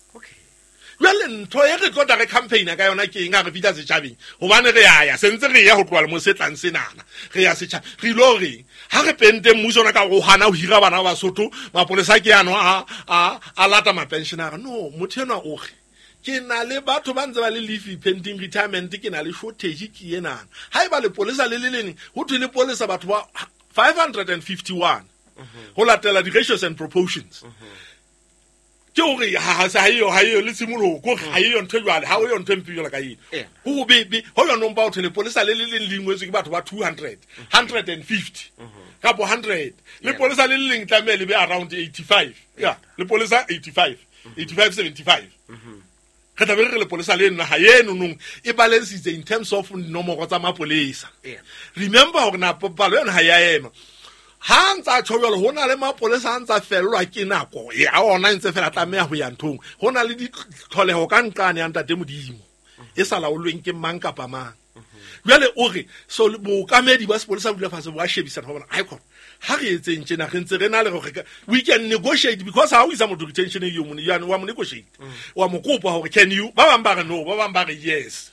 B: Jwale ntho e re tlo tla re campaign ka yona ke eng ha re fihla setjhabeng? Hobane re ya ya, se ntse re ya ho tloha lemong se tlang senana. Re ya setjhabeng. Re ilo reng? Ha re pente mmuso ona ka ho hana ho hira bana ba Basotho, mapolesa ke ano a lata mapensionara. No, motho enwa o re ke na le batho ba ntse ba le leave pending retirement, ke na le shortage ke enana. Haeba lepolesa le le leng, ho thwe lepolesa batho ba 551 ho latela di-ratios and proportions. Ke hore ha se ha eyo, ha eyo le tshimoloho, ke hore ha eyo ntho e jwale, ha eyo ntho e mpe jwalo ka eno. Ho bebe, ho yona mpa ho thwe lepolesa le le leng le ingwetswe ke batho ba 200, 150, kapo 100. Lepolesa le le leng tlameha le be around 85. Yeah, lepolesa 85, 85, 75. Re tla be re re lepolesa le naha eno nong e balansitse in terms of nomoro tsa mapolesa. Remember hore na palo yona ha ya ema. Ha ntsa tjho jwalo, ho na le mapolesa a ntsa fellwa ke nako ya ona ntse fela tlameha ho ya nthong. Ho na le ditlholeho ka nqane ya Ntate Modimo e sa laolweng ke mang kapa mang. Jwale o re so bookamedi ba sepolesa bo dula fatshe bo a shebisana ho bona, ai khona ha re etseng tjena, re ntse re na le hore we can negotiate, because ha o isa motho retention e yo mone, ya wa mo negotiate, wa mo kopa hore can you, ba bang ba re no, ba bang ba re yes.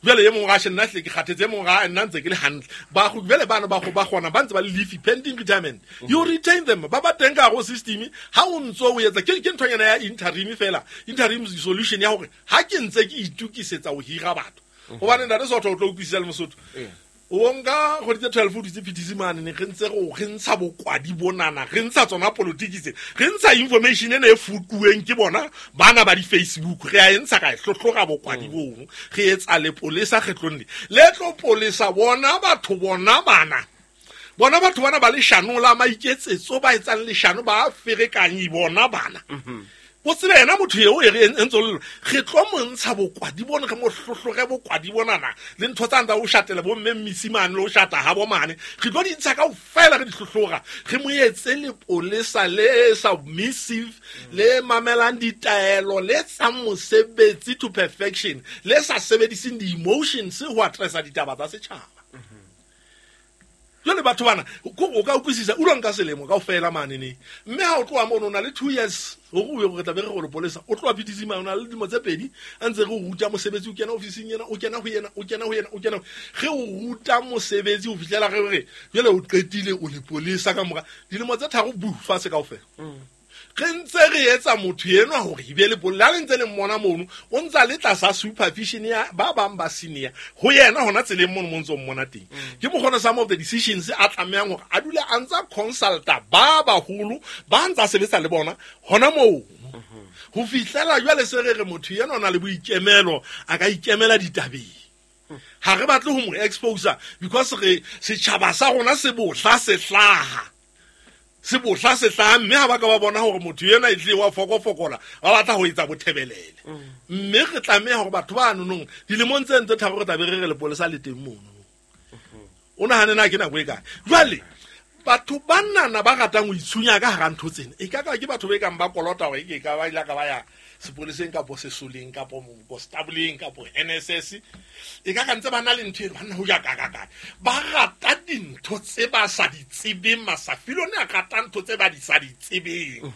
B: Jwale e mong ra nna hle ke kgathetse, e mong ra nna ntse ke le hantle. Ba go jwale bana ba go ba gona ba ntse ba le leave pending retirement. You retain them, ba ba teng ka go system. Ha o ntso o etsa ke nthonyana ya interim fela, interim solution ya hore ha ke ntse ke itukisetsa ho hira batho. Hobane ntate Sotho o tlo utlwisisa le Mosotho. O nka kgwedi tse 12 o dutse PTC mane, ne re ntse re ntsha bokwadi bonana, re ntsha tsona politiki tse, re ntsha information ena e futuweng ke bona bana ba di-Facebook, re a e ntsha ka e hlohlora bokwadi bono, re etsa lepolesa kgetlong le. Le tlo polesa bona batho bona bana. Bona batho bana ba leshano la maiketsetso, ba etsang leshano, ba ferekanyi bona bana. O tsebe yena motho eo e re ntse le re tlo mo ntsha bokwadi bona, re mo hlohlore bokwadi bonana le ntho tsa ntsa o shatela bo mme mmisimane le o shata ha bo mane, re tlo di ntsha kaofela, re di hlohlora, re mo etse lepolesa le submissive, le mamelang ditaelo, le etsang mosebetsi to perfection, le sa sebediseng di-emotions ho addressa ditaba tsa setjhaba. Jwale batho bana, o ka utlwisisa, o lo nka selemo kaofela mane ne. Mme ha o tloha mono, o na le 2 years hore o ye re tla be re re lepolesa. O tloha PTC mane, o na le dilemo tse pedi, a ntse re o ruta mosebetsi, o kena ofising ena, o kena ho yena, o kena ho yena, o kena ho-, re o ruta mosebetsi ho fihlela re re, jwale o qetile, o lepolesa ka mora dilemo tse tharo, bu, fatshe kaofela. Re ntse re etsa motho enwa hore e be lepolesa. Ha le ntse le mmona mono, o ntsa le tlasa supervision ya ba bang ba senior ho yena hona tseleng mono mo ntso mmona teng. Ke mokgona some of the decisions a tlamehang hore a dule a ntsa consulta ba baholo ba ntsa sebetsa le bona hona moo. Ho fihlela jwale se re re motho enwa o na le boikemelo, a ka ikemela ditabeng. Ha re batle ho mo expose because re setjhaba sa rona se bohla se hlaha. Se bohla se hlaha, mme ha ba ka ba bona hore motho ena e tlile wa fokofokola, ba batla ho etsa bothebelele. Mme re tlameha hore batho ba nonong dilemong tse ntse tharo re tla be re re lepolesa le teng mono. O nahane na ke nako e kae? Jwale batho ba nana ba ratang ho itshunya ka hara ntho tsena, e ka ka ke batho ba kang ba kolota hore ke ka ba ile ka ba ya sepoleseng kapo sesoleng kapo constabuleng kapo NSS, e ka ka ntse ba na le ntho eno, ba nna ho ja ka ka ka. Ba rata dintho tse ba sa di tsebeng, Masafilone a rata ntho tse ba di sa di tsebeng.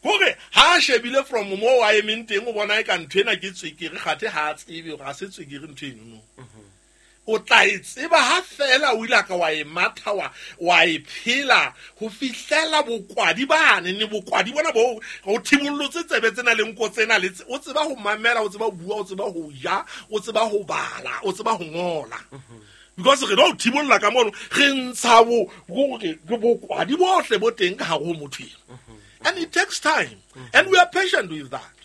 B: Hore ha a shebile from moo a emeng teng, o bona eka ntho ena ke tswekere, kgathe ha a tsebe hore ha se tswekere ntho eno no. O tla e tseba ha fela o ile ka wa e matha, wa e phela ho fihlela bokwadi bane, ne bokwadi bona bo ho thibollotse tsebe tsena le nko tsena le tse, o tseba ho mamela, o tseba ho bua, o tseba ho ja, o tseba ho bala, o tseba ho ngola. Because re tlo thibolla ka mono, re ntsha bo, hore ke bokwadi bohle bo teng ka hare ho motho eno. And it takes time. And we are patient with that.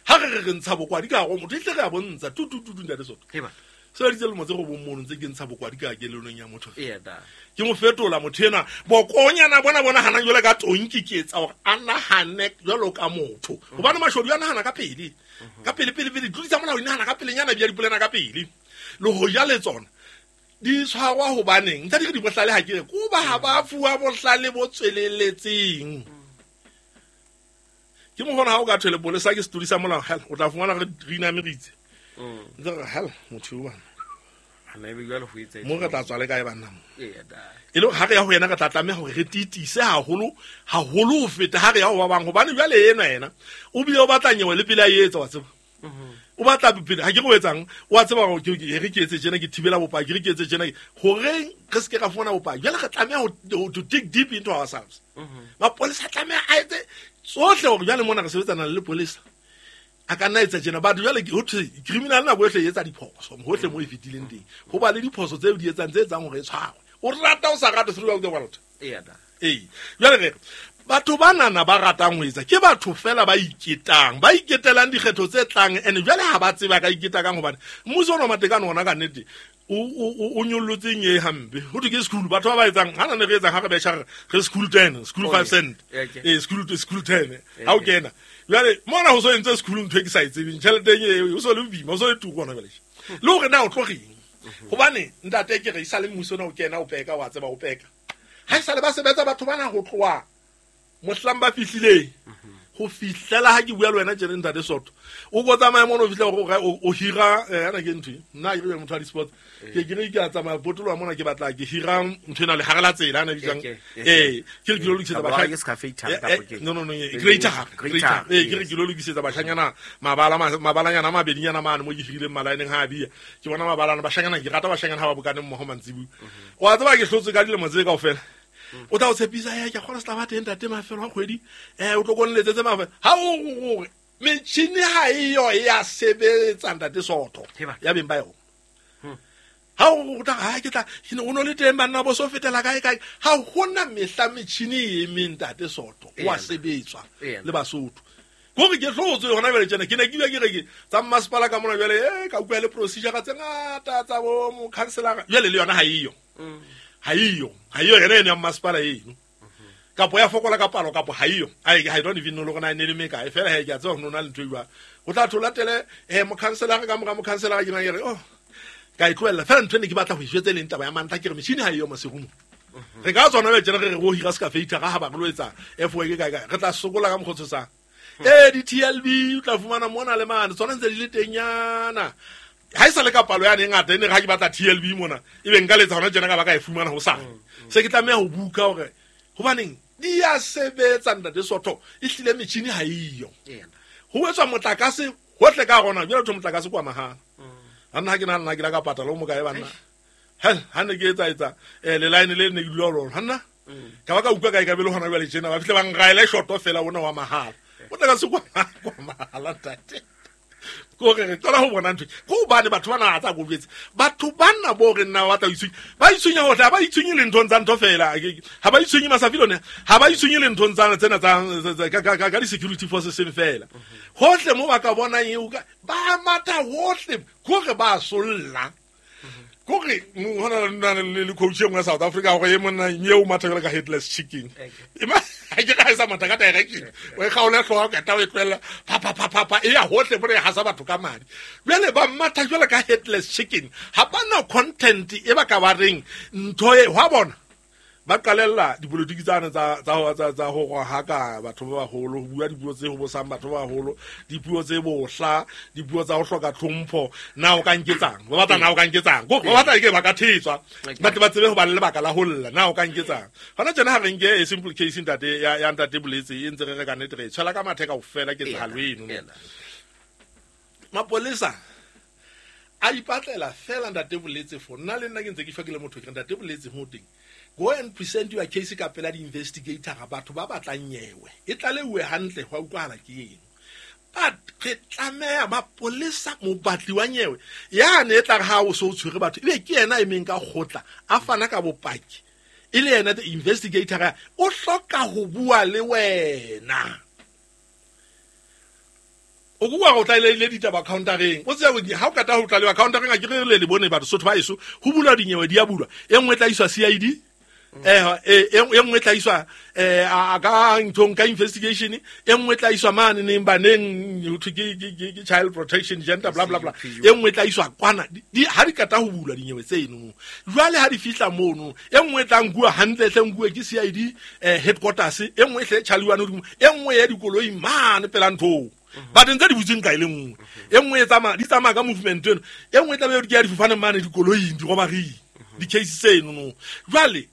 B: Ha re re re ntsha bokwadi ka hare ho motho, e tle re a bontsha, tu, tu, tu, tu, ntate Sotho.
A: Heba.
B: Sebeditse lemo tse robong mono ntse ke ntsha bokwadi ka kelelong ya motho.
A: Eya da.
B: Ke mo fetola motho enwa. Bokonyana bona bona hanang jwale ka tonki ke etsa hore a nahane jwalo ka motho. Hobane mashodu a nahana ka pele. Ka pele pele pele tlodisa molao di nahana ka pelenyana bia dipolena ka pele. Le ho ja le tsona di tshwarwa hobaneng? Ntse di re di bohlale ha ke re ko ba ha ba fuwa bohlale bo tsweleletseng. Ke mo hona ha o ka thwele polesa ke setodi sa molao, hell, o tla fumana re re inameritse. Ntse re hell motho o bana.
A: Ana ebe jwale ho etsa
B: Mo re tla tswa le kae banna mo?
A: Eya da.
B: E le ha re ya ho yena re tla tlameha hore re titise haholo haholo ho feta ha re ya ho ba bang, hobane jwale enwa yena o bile o batla nyewe le pele a etsa, wa tseba. O batla pele ha ke re o etsang, o a tseba hore ke re ke etse tjena, ke thibela bopaki, re ke etse tjena, horeng re se ke ra fumana bopaki. Jwale re tlameha to dig deep into ourselves. Mapolesa a tlameha a etse tsohle hore jwale mona re sebetsana le lepolesa. A ka nna etsa tjena, batho jwale ho thwe criminal nako yohle e etsa diphoso hohle mo e fetileng teng. Ho ba le diphoso tseo di etsang tse etsang hore e tshwarwe. O rata o sa rate throughout the world.
A: Eya da.
B: Ee. Jwale re batho banana ba ratang ho etsa ke batho fela ba iketang, ba iketelang dikgetho tse tlang, ene jwale ha ba tseba ka iketa kang, hobane mmuso ona wa Matekane ona ka nnete o nyollotseng e hampe. Ho thwe ke school, batho ba ba etsang, ha na ne re etsang ha re betjha re school 10, school
A: Oh,
B: 5
A: yeah.
B: cent.
A: Yeah, okay.
B: School 10.
A: Yeah,
B: Ha o
A: okay.
B: kena. Jwale mona ho so entse school ntho e ke sa e tsebeng, tjhelete e o so le boima, o so le turu hona jwale. Le hore na o tlo reng? Hobane ntate ke re e sale mmuso ona o kena o peka, wa tseba o peka. Ha e sale ba sebetsa batho bana ho tloha mohlang ba fihlileng ho fihlela ha ke bua le wena tjena ntate Soto. O ko tsamaya mono o fihla hore o hira, ana ke ntho e? Nna ke re motho wa di-sports. Ke ke re ke a tsamaya potoloha mona ke batla ke hira ntho ena lehare la tsela, ana e bitswang.
A: Okay, okay.
B: Ke re ke lo lokisetsa
A: Kapa
B: bahla-
A: ke Scafator kapa ke-
B: No, no, no, greater,
A: Greater,
B: greater. Ke re
A: yes.
B: ke lo lokisetsa bashanyana mabala, mabalanyana a mabedinyana mane mo ke hirileng malaeneng ha a bia. Ke bona mabalana, bashanyana, ke rata bashanyana ha ba bokane mmoho mantsibuya. Wa tseba ke hlotswe ka dilemo tse kaofela. O tla o tshepisa, ke a kgolwa se tla ba teng ntate mafelo a kgwedi. O tlo ko nletsetse mafelo. Ha o hore metjhini ha eyo e ya sebetsa ntate Soto.
A: He ba.
B: Ya beng ba yona. Ha o tla, ha ke tla, ke ne o no le teng banna bo so fetela kae kae. Ha hona mehla metjhini e emeng ntate Soto. O a
A: Eya.
B: sebetswa
A: Eya.
B: le Basotho. Kore ke hlotswe hona jwale tjena, ke ne ke bua ke re ke tsa mmasepala ka mona jwale, ka utlwa le procedure tse ngata tsa bo mokhanselara. Jwale le yona ha eyo. Ha eyo. Ha eyo yena eno ya mmasepala eno. Kapo ya fokola ka palo, kapo ha eyo. Ai, I don't even know le hore na e ne le mekae. Feela he, ke a tseba hore no na le ntho e jwalo. Ho tla thola tele, mokhanselara ka mora mokhanselara ke nang ke re, oh, ka e tlohella. Feela ntho e ne ke batla ho e jwetsa e leng taba ya mantlha, ke re metjhini ha eyo Maseru. Re ka tsona jwale tjena re re ro hira Scafator ha ba re lo etsa F work kae kae. Re tla sokola ka mokgwa o tshosang. Di-T L B o tla fumana mona le mane, tsona ntse di le tengnyana. Ha e sa le ka palo yane e ngata, e ne re ha ke batla TLB mona, ebe nka letsa hona tjena ka ba ka e fumana hosane. Se ke tlameha ho buka hore hobaneng di a sebetsa ntate Soto, ehlile metjhini ha eyo.
A: Eya.
B: Ho etswa motlakase hohle ka rona, jwale ho thwe motlakase kwa mahala. Ha nna ha ke nahana nna ke la ka patala o mokae banna. Hell, ha ne ke etsa etsa, le line le ne ke dula ho lona, ha nna? Ka ba ka utlwa kae ka be le hona jwale tjena, ba fihle ba nraele shoto fela ona wa mahala. Motlakase kwa mahala ntate. Ke hore re qala ho bona ntho. Ke hobane batho bana ha tsa kobetse. Batho bana bo re nna ba batla ho itshwenya. Ba itshwenya hohle, ha ba itshwenye le nthong tsa ntho fela. Ha ba itshwenye Masafile one, ha ba itshwenye le nthong tsa tsena tsa, ka, ka, ka, ka di-security forces seng fela. Hohle mo ba ka bonang eo ka, ba matha hohle, ke hore ba solla. Ke hore, hona le na le, le coach e nngwe ya South Africa hore e monna eo matha jwalo ka headless chicken.
A: Okay.
B: E ma, ha ke re ha e sa matha ka direction. O e kgaole hlooho, o qeta o e tlohella, pa, pa, pa, pa, pa, e ya hohle mona e hasa batho ka madi. Jwale ba matha jwalo ka headless chicken. Ha ba na content e ba ka ba reng ntho e, hwa bona. Ba qalella dipolotiki tsane tsa ho rohaka batho ba baholo, ho bua dipuo tse hobosang batho ba baholo, dipuo tse bohla, dipuo tsa ho hloka tlhompho. Na o ka nketsang? Ba batla na o ka nketsang? Ko, ba batla ke ba ka thetswa. Ba tle ba tsebe ho ba le lebaka la ho lla. Na o ka nketsang? Hona tjena ha re nke a simple case ntate ya ntate Boletse e ntse re re ka nnete re e tshwela ka mathe kaofela ketsahalo eno. Mapolesa a ipatlela fela ntate Boletse for nna le nna ke ntse ke shwa ke le motho ke re ntate Boletse ho teng. Go and present your case ka pela di-investigator batho ba batlang nyewe. E tlalehuwe hantle ho a utlwahala ke eng. But re tlameha mapolesa mobatli wa nyewe yane e tla re ha o so o tshwere batho ebe ke yena a emeng ka kgotla a fana ka bopaki e le yena the investigator o hloka ho bua le wena. O ko wa go tlaleile ditaba countereng o tseba gore ha o kata ho tlalewa countereng a ke re le le bone batho sotho ba eso ho bulwa dinyewe di a bulwa e nngwe e tla iswa CID e nngwe e tla iswa a ka nthong ka investigation e nngwe e tla iswa mane neng baneng ho thwe ke child protection gender bla bla bla e nngwe e tla iswa kwana ha di kata ho bulwa dinyewe tseno jwale ha di fihla mono e nngwe e tla nkuwa hantle hle nkuwe ke CID headquarters e nngwe e hle tjhaliwane hodimo e nngwe ya dikoloi mane pela nthong but ntse di butsweng ka e le nngwe e nngwe e tsamaya di tsamaya ka movement eno e nngwe e tlabe di ya difofaneng mane dikoloing dirobaring di-case tseno no jwale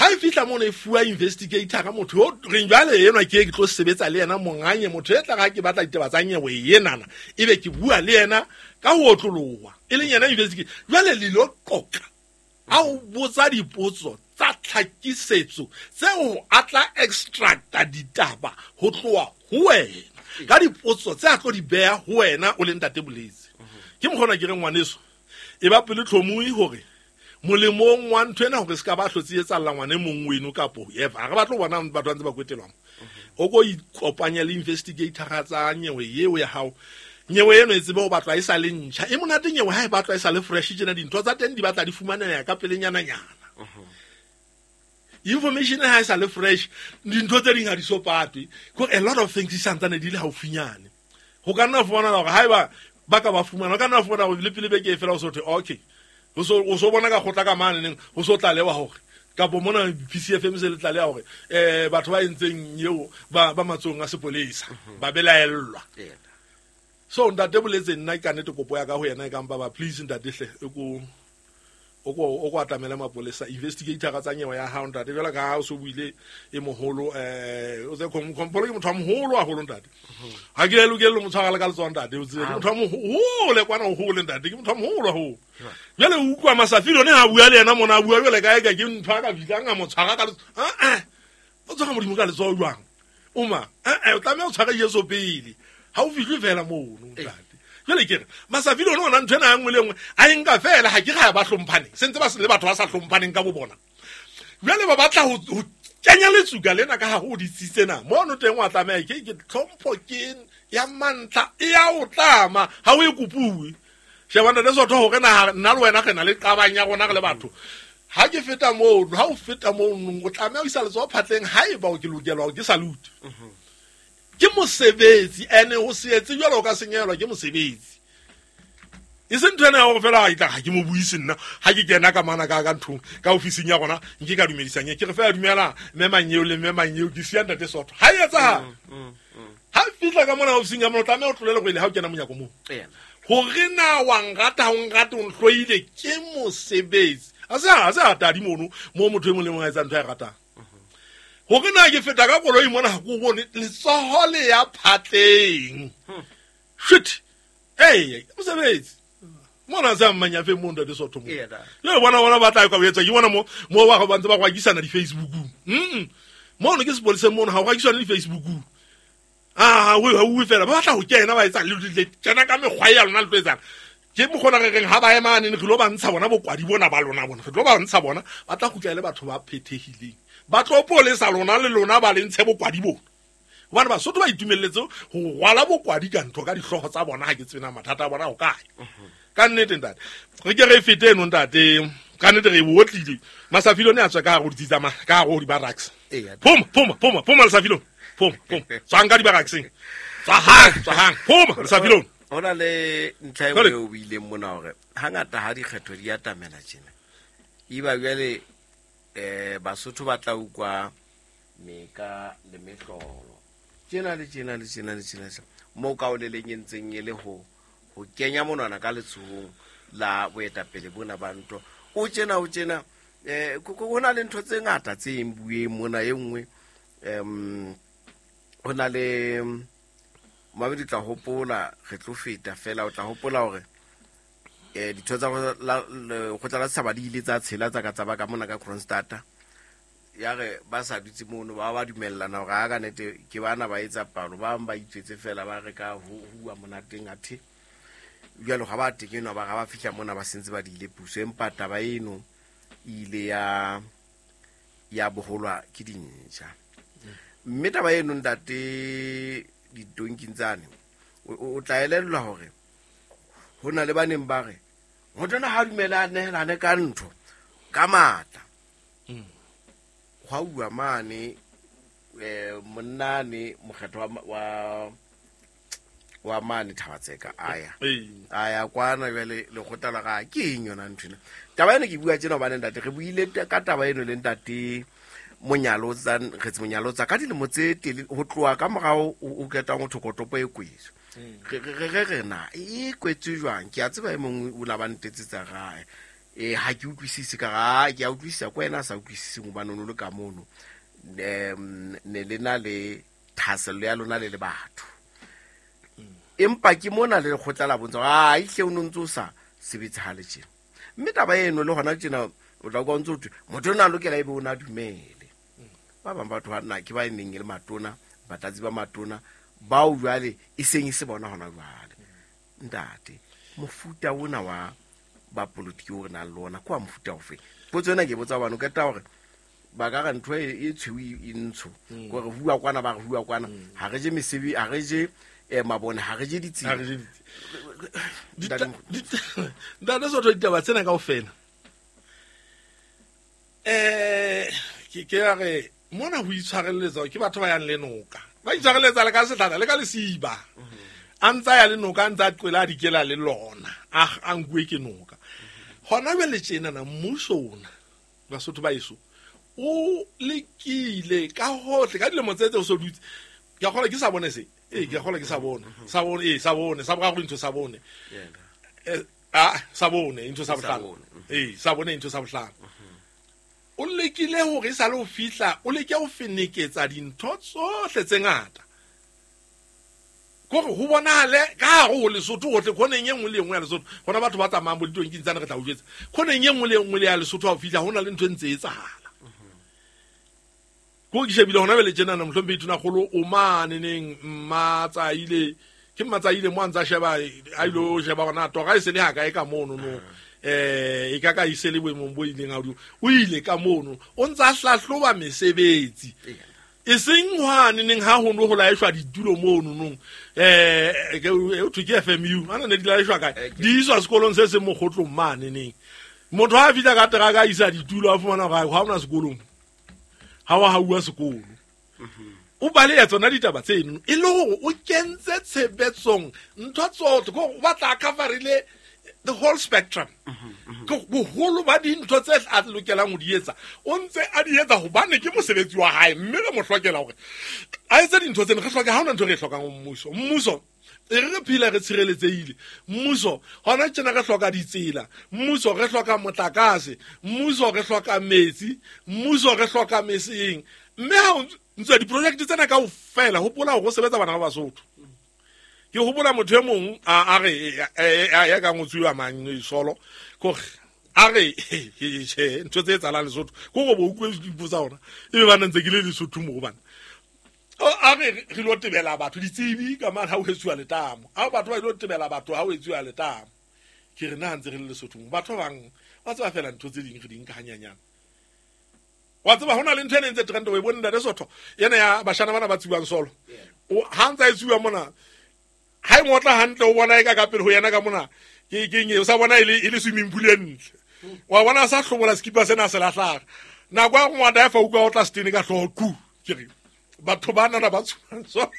B: ha e fihla mono e fuwa investigator ka motho yo reng jwale enwa ke e ke tlo sebetsa le yena monganye motho e tla ga ke batla ditaba tsa nyewe enana ebe ke bua le yena ka ho otloloha e leng yena investigator jwale le lo qoqa a o botsa dipotso tsa tlhakisetso tseo a tla extracta ditaba ho tloha ho wena ka dipotso tse a tlo di beha ho wena o le ntate Boletse. Ke mokgona ke re ngwaneso e ba pele tlhomoe hore molemong wa ntho ena hore se ka ba hlotse etsalla ngwane mong weno kapo eva re batlo bona batho ba ntse ba kwetelwa o ko ikopanya le investigator tsa nyewe eo ya hao. Nyewe eno e tsebe ho batlwa e sa le ntjha e monate nyewe ha e batlwa e sa le fresh tjena dintho tsa teng di batla di fumaneha ka pelenyana nyana. Information ha e sa le fresh dintho tse ding ha di so patwe ko a lot of things di santsane di le haufinyane ho ka nna fumana hore haeba ba ka ba fumana ho ka nna fumana hore le pele beke e fela o so thwe okay o so bona ka kgotla ka mane neng ho so tlalewa hore kapo mona PCFM se le tlaleha hore batho ba entseng eo ba matsong a sepolesa ba belaellwa. So ntate Boletse nna ka nnete kopo ya ka ho yena e ka mpa ba please ntate hle e ko o ko atamele mapolesa investigator tsa nyewe ya hao ntate jwale ka ha o so buile e moholo o tse kompolo ke motho wa moholo haholo ntate ha ke lokele mo tshwara le ka letsoho ntate o tsebe ke motho wa moholo kwana o hole ntate ke motho wa moholo haholo jwale o utlwa Masafile one ha bua le yena mona a bua jwale ka eka ke ntho a ka fihlang a mo tshwara ka letsoho o tshwara Modimo ka letsoho jwang oma o tlameha o tshwara Jesu pele ha o fihle fela mono ntate. Jwale ke re Masafile one ona ntho ena ya nngwe le nngwe a e nka fela ha ke ga ba hlomphane sentse ba le batho ba sa hlomphaneng ka bo bona jwale ba batla ho kenya letsuka lena ka hare ho ditsi tsena mono teng wa tlameha ke tlhompho ke ya mantlha e ya o tlama ha o e kopuwe. Sheba ntate Sotho hore na nna le wena re na le qabang ya rona re le batho ha ke feta mono ha o feta mono o tlameha o isa letsoho phatleng haeba o ke lokelwa ke salute. Ke mosebetsi ene ho se etse jwalo o ka senyehelwa ke mosebetsi e se ntho ena ya hore fela ha itla ha ke mo buise nna ha ke kena ka mana ka nthong ka ofising ya rona nke ka dumedisang ke re fela dumela mme manyeo le mme manyeo ke siya ntate Sotho ha e etsahala ha fihla ka mona ofising ya mona o tlameha o tlolele go ile ha o kena monyako moo hore na wa nrata ha o nrate o nhloile ke mosebetsi a se a tadi mono mo motho e mong le mong a etsang ntho a e ratang hore na ke feta ka koloi mona ha ke bone letsoho le ya phatleng shit ee mosebetsi mona sa mmanyafe mo ntate Sotho mo le bona ba tla ka etsa ke bona mo ba ba ntse ba gwakisana di Facebookung mono ke sepolesa mono ha o gwakisana di Facebookung a we ha o fela ba batla ho kena ba etsa le kena ka mekgwa ya lona le tlo etsang ke mokgona re reng ha ba emane re tlo ba ntsha bona bokwadi bona ba lona bona re tlo ba ntsha bona ba tla kgutla le batho ba phethehileng ba tlo polesa lona le lona ba le ntshe bokwadi bona hobane Basotho ba itumelletse ho rwala bokwadi ka ntho ka dihlooho tsa bona ha ke tsena mathata a bona ho kae ka nnete ntate re ke re fete eno ntate ka nnete re otlile Masafile ne a tswa ka hare ho ditsi tsa ka hare ho di-barracks phoma phoma Lesafilong phoma tswang ka di-barrackseng tswa hang phoma Lesafilong.
A: Ho na le ntlha e nngwe o buileng mona hore hangata ha dikgetho di atamela tjena eba jwale Basotho ba tla utlwa meka le mehlolo tjena le tjena le tjena le tjena mo ka o leleng e ntseng e le ho kenya monwana ka letsohong la boetapele bona ba ntho o tjena ho na le ntho tse ngata tse eng bueng mona e nngwe ho na le mabedi tla hopola re tlo feta fela o tla hopola hore ditho tsa lekgotla la setjhaba di ile tsa tshela tsa ka tsa ba ka mona ka Kroonstad ya re ba sa dutse mono ba ba dumellana hore ha ka nete ke bana ba etsa palo ba bang ba itswetse fela ba re ka ho hua monateng athe jwalo ha ba tekenwa ba ga ba fihla mona ba sentse ba diile puso empa taba eno e ile ya boholwa ke dintjha mme taba eno ntate ditonking tsane O tla elellwa hore ho na le ba neng ba re motho ona ha dumela a nehelane ka ntho ka matla. Hwa uwa mane monnane mokgetho wa mane Thabatseka a ya kwana jwale lekgotla la ga ke eng yona ntho ena. Taba eno ke bua tjena hobane ntate re buile ka taba eno le ntate Monyalotsa Kgetsi Monyalotsa ka dilemo tse tele ho tloha ka morao o ketang ho thokotopo e kwetswe. Re na e kwetswe jwang? Ke a tseba e mongwe o la ba ntetsetsa gae. Ha ke utlwisise ka ga ke a utlwisisa ko wena a sa utlwisiseng hobane o no le ka mono. Ne le na le thahasello ya lona le le batho. Empa ke mona le lekgotla la bontsha a ihle o no ntse o sa sebetse ha le tjena. Mme taba eno le hona tjena o tla utlwa o ntse o thwe motho ona a lokela ebe o na dumele. Ba bang batho ba nna ke ba e neng e le matona, batlatsi ba matona bao jwale e seng e se bona hona jwale. Ntate, mofuta ona wa ba politiki o re nang le ona ke wa mofuta ofe? Potso ena ke e botsa hobane o qeta hore ba ka re ntho e tshweu e ntsho. Kore hua kwana ba re hua kwana. Ha re je mesebe, ha re je mabone, ha re je ditsela.
B: Ha re je ditsela. Ntate Sotho, ditaba tsena kaofela. Ke ya re mona ho itshwareletsa ke batho ba yang le noka. Ba itshwareletsa le ka sehlahla le ka lesiba. A ntsa ya le noka, a ntsa qwela a dikela le lona. A nkuwe ke noka. Hona jwale tjena na mmuso ona Basotho ba eso o lekile ka hohle ka dilemo tse tse o so dutse. Ke a kgolwa ke sa bone se. Ke a kgolwa ke sa bone. Sa bone, sa bone, sa boraro ntho sa bone. Sa bone ntho sa bohlano. Sa bone ntho sa bohlano. O lekile hore e sale ho fihla, o leke ho feneketsa dintho tsohle tse ngata. Kore ho bonahale ka hare ho Lesotho hohle, khoneng e nngwe le e nngwe ya Lesotho. Hona batho ba tsamayang bo ditonking tsane re tla o jwetsa. Khoneng e nngwe le e nngwe le ya Lesotho ha o fihla, ho na le ntho e ntse e etsahala. Ko ke shebile hona jwale tjenana, mohlomphehi Tonakgolo o mane neng Mmatsaile, ke Mmatsaile mo a ntsa sheba, a ilo sheba hore na tora e se le ha kae ka mono no. E ka ka e se le boemong bo ileng ha hodimo. O ile ka mono, o ntsa hlahloba mesebetsi. E seng hwane neng ha ho no ho laeshwa ditulo mono nong. Ke, o thwe ke FMU, ana ne di laeshwa kae? Di iswa sekolong se seng mokgotlong mane neng. Motho ha a fihla ka teraka a isa ditulo, a fumana hore ha hona sekolong. Ha wa hauwa sekolo. O baleya tsona ditaba tseno e le hore o kentse tshebetsong ntho tsohle, ke hore o batla a coverile the whole spectrum. Ke boholo ba dintho tse a lokelang ho di etsa, o ntse a di etsa hobane ke mosebetsi wa hae, mme re mo hlokela hore a etse dintho tsena. Re hloka, ha hona ntho re e hlokang ho mmuso. Mmuso e re re phela re tshireletsehile. Mmuso hona tjena re hloka ditsela, mmuso re hloka motlakase, mmuso re hloka metsi, mmuso re hloka meseng. Mme ha o ntse diprojekte tsena kaofela, hopola hore o sebetsa bana ba Basotho. Ke hopola motho e mong a re, ya ka ngotsiwa mang, solo, kore a re, tjhe, ntho tse etsahalang Lesotho, ke hore bo utlwe dipuo tsa ona, ebe ba ntse ke le Lesotho moo bana. A re, re lo tebela batho, ditsebi ka mane ha ho etsuwa letamo. Ha batho ba ilo tebela batho ha ho etsuwa letamo. Ke re na ntse re le Lesotho moo, batho ba bang ba tseba fela ntho tse ding re di nka hanyanyane. Wa tseba hona le ntho ena e ntse trend, o e bone ntate Sotho, ena ya bashana bana ba tsiwang solo. O ha ntsa e tsiwa mona, ha e ngotla hantle o bona e ka ka pele ho yena ka mona, ke eng e, o sa bona e le swimming pool e ntle. Wa bona a sa hlobola sekipa sena a se lahlara. Nako ya ngwata e fa utlwa o tla setene ka hlooho, ku. Ke re batho ba nana ba tswang solo.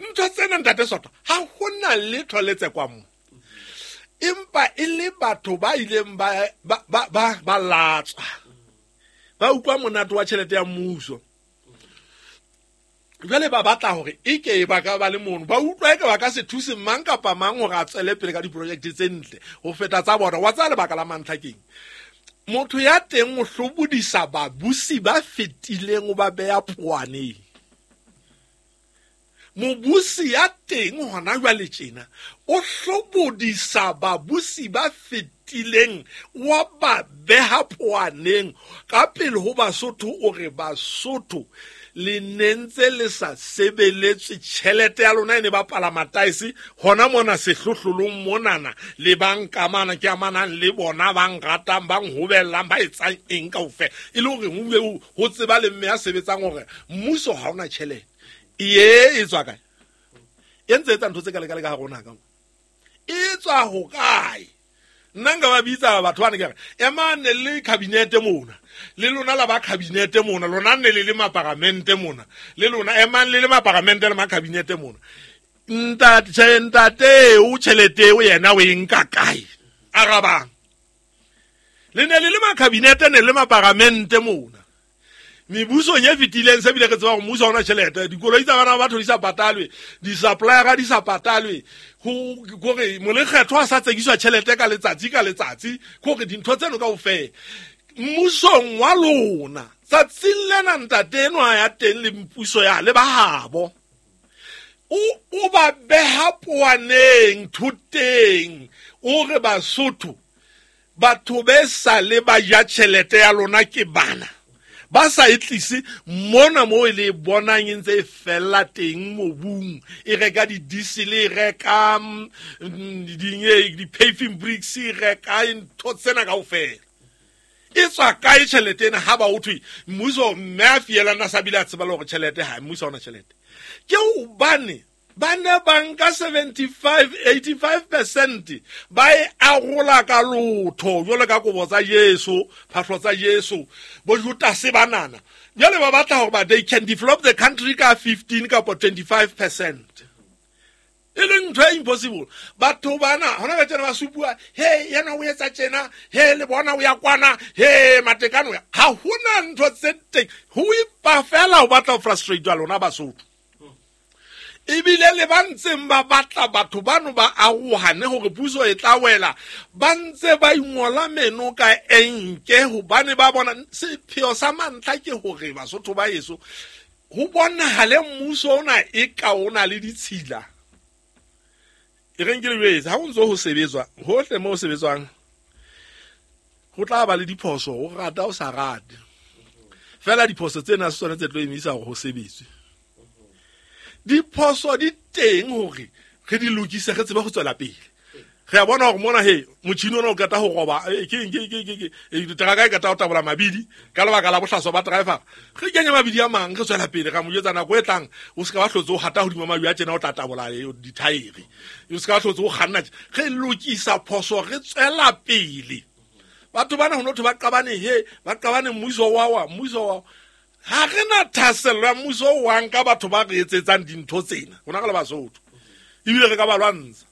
B: Ntho tsena ntate Sotho, ha hona letho le tsekwang mo. Empa e le batho ba ileng ba latswa. Ba utlwa monate wa tjhelete ya mmuso. Jwale ba batla hore e ke ba ka ba le mono. Ba utlwa eke ba ka se thuse mang kapa mang hore a tswele pele ka diprojekte tse ntle ho feta tsa bona. Wa tseba lebaka la mantlha keng? Motho ya teng o hlobodisa babusi ba fetileng, o ba beha poaneng. Mobusi ya teng hona jwale tjena o hlobodisa babusi ba fetileng, wa ba beha poaneng ka pele ho Basotho. O re Basotho le ne ntse le sa sebeletswe, tjhelete ya lona e ne bapala mataese hona mona sehlohlolong monana, le ba nkamana ke amanang le bona, ba nratang, ba nhobellang, ba etsang eng kaofela, e le hore ho tseba le mme ya sebetsang hore mmuso ha ona tjhelete. Ye e tswa kae? E ntse etsa ntho tse ka lekale ka rona ka mo. E tswa ho kae? Nna nka ba bitsa batho bana ke re ema ne le cabinet mona, le lona la ba cabinet mona, lona ne le le maparamente mona, le lona emang le le maparamente le ma cabinet mona. Ntate o tjhelete o yena o e nka kae? Arabang. Le ne le le ma cabinet ne le maparamente mona. Mebusong e fetileng se bile re tseba gore mmuso ha ona tjhelete, dikoloi tsa bana ba batho di sa patalwe, di-suppliera di sa patalwe, kore molekgetho a sa tsekiswa tjhelete ka letsatsi ka letsatsi, kore dintho tseno kaofela. Mmusong wa lona tsatsing lena ntate enwa ya teng le mpuso ya le ba habo, o ba beha poaneng thoteng, o re Basotho batho be sa le ba ja tjhelete ya lona ke bana. Ba sa e tlise mona moo e le bonang e ntse e fella teng mobung, e reka di-diesel, e reka di-paving bricks, e reka ntho tsena kaofela. E tswa kae tjhelete ena ha ba ho thwe mmuso mme a fielana sa bile a tseba le hore tjhelete ha mmuso ha ona tjhelete? Ke hobane ba ne ba nka 75, 85% ba e arola ka lotho jwalo ka kobo tsa Jesu, phahlo tsa Jesu, bo Judase banana. Jwale ba batla hore ba they can develop the country ka 15 kapa 25%. E leng ntho e impossible. Batho bana hona ba tjena ba supuwa, he yena o etsa tjena, he le bona o ya kwana, he matekano ya. Ha hona ntho tse teng. Ho ipa fela ho batla ho frustrate lona Basotho. Ebile le ba ntseng ba batla batho bano ba arohane hore puso e tla wela, ba ntse ba ingola meno ka enke hobane ba bona sepheo sa mantlha ke hore Basotho ba heso ho bonahale mmuso ona e ka o na le ditshila. E reng ke le jwetse, ha ho ntso ho sebetswa hohle moo ho sebetswang ho tla ba le diphoso, o rata o sa rate. Fela diphoso tsena se tsona tse tlo emisa hore ho sebetswe. Diphoso di teng hore re di lokise re tsebe ho tswela pele. Re a bona hore mona he motjhini ona o qeta ho roba, ke teraka e qeta ho tabola mabidi ka lebaka la bohlaswa ba driver. Re kenya mabidi a mang re tswela pele, ra mo jwetsa nako e tlang o se ka ba hlotse o hata hodima mabidi a tjena o tla tabola dithaere. O se ka ba hlotse o kganna tje. Re lokisa phoso re tswela pele. Batho bana ho no thwe ba qabane he, ba qabane mmuso wa wa, mmuso wa. Ha re na thahasello ya mmuso o wang ka batho ba re etsetsang dintho tsena. Rona re le Basotho. Ebile re ka ba lwantsha.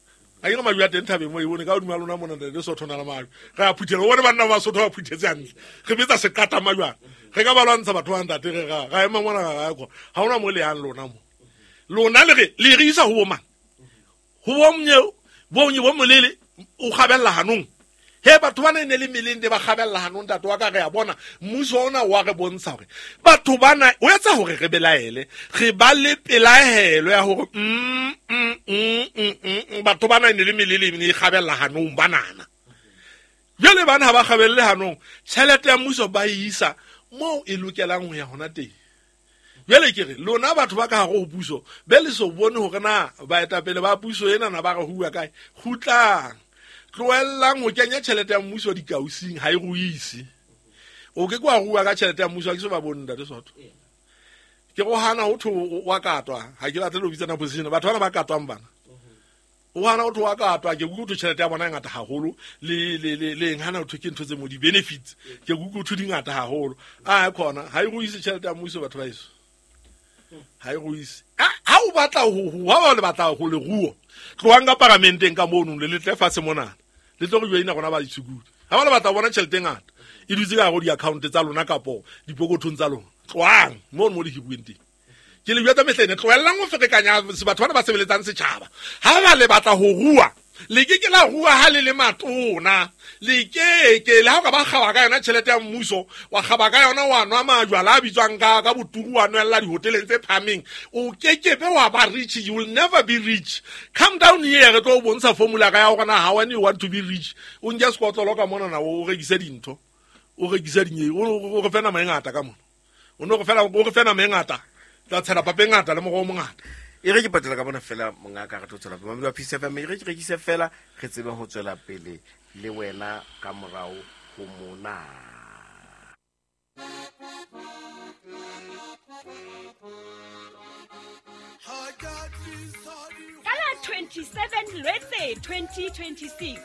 B: Ha ke re majwe a teng thabeng moo, e bone ka hodima lona mona ntate Sotho na le majwe. Re a phuthela, o bone banna ba Basotho ba phuthetse hantle. Re betsa seqata majwana. Re ka ba lwantsha batho ba ntate, re ra ema mona ra ya kwa. Ha hona mo le yang lona mo. Lona le re, le re isa ho bo mang? Ho bo mnye, bo mnye bo molele, o kgabella hanong. He batho bana e ne le meleng de ba kgabella hanong, ntate wa ka re a bona mmuso ona wa re bontsha hore batho bana o etsa hore re belaele, re ba le pelaelo ya hore batho bana e ne le melele e ne e kgabella hanong banana. Jwale bana ha ba kgabelle hanong, tjhelete ya mmuso ba e isa moo e lokelang ho ya hona teng. Jwale ke re lona batho ba ka hare ho puso be le so bone hore na baetapele ba puso ena na ba re hua kae. Kgutlang, tlohellang ho kenya tjhelete ya mmuso dikausing, ha e ruise. O ke ke wa rua ka tjhelete ya mmuso, ha ke so ba bone ntate Sotho. Ke go hana ho thwe wa katwa, ha ke batle ho bitsana position, batho bana ba katwang bana. O hana ho thwe wa katwa, ke kuku tjhelete ya bona e ngata haholo, le eng hana ho thwe ke ntho tse mo di-benefits, ke kuku thwe di ngata haholo. A khona, ha e ruise tjhelete ya mmuso batho ba heso. Ha e ruise. Ha o batla ho, ho, ha o batla ho leruo, tlohang ka paramenteng ka mono, le letle fatshe mona. Le tlo re joina rona ba ditshukudi. Ha ba le batla ho bona tjhelete e ngata, e dutse ka hare ho di-account tsa lona kapo dipokothong tsa lona. Tlohang mono mo le hiruweng teng. Ke le jwetsa mehleng, tlohellang ho ferekanya batho bana ba sebeletsang setjhaba. Ha ba le batla ho rua, le ke ke la rua ha le le matona. Le ke ke le ha o ka ba kgaba ka yona tjhelete ya mmuso, wa kgaba ka yona wa nwa majwala a bitswang ka boturu, wa nwella dihoteleng tse phahameng. O ke ke be wa ba rich, you will never be rich. Come down here, re tlo o bontsha formula ka ya hore na how when you want to be rich. O nke sekotlolo ka mona na o rekise dintho. O rekise dinye, o re fe nama e ngata ka mona. O no re fela, o re fe nama e ngata. Tla tshela papa e ngata le moroho o mongata.
A: E re ke patela ka bona fela mongaka, re tlo tswela pele. Mamedi wa Peace FM, e re ke rekise fela, re tsebe ho tswela pele le wena ka morao ho mona.
C: 27 Lwetse 2026,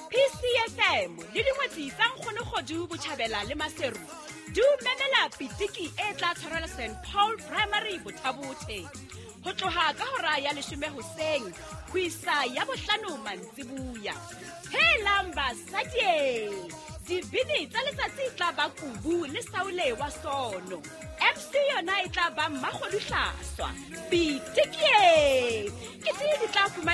C: PCFM le dingwetsi tsa Nkgonokgodu Botjhabela le Maseru di o memela pitiki e tla tshwarelwa St Paul Primary Bothabothe ho tloha ka hora ya leshome hoseng ho isa ya bohlano mantsibuya. Helang basadi! Dibini tsa letsatsi e tla ba Kubu le Saule wa Sono. MC yona e tla ba Mmakgodu Hlaswa. Pitikie! Ke di tla fumana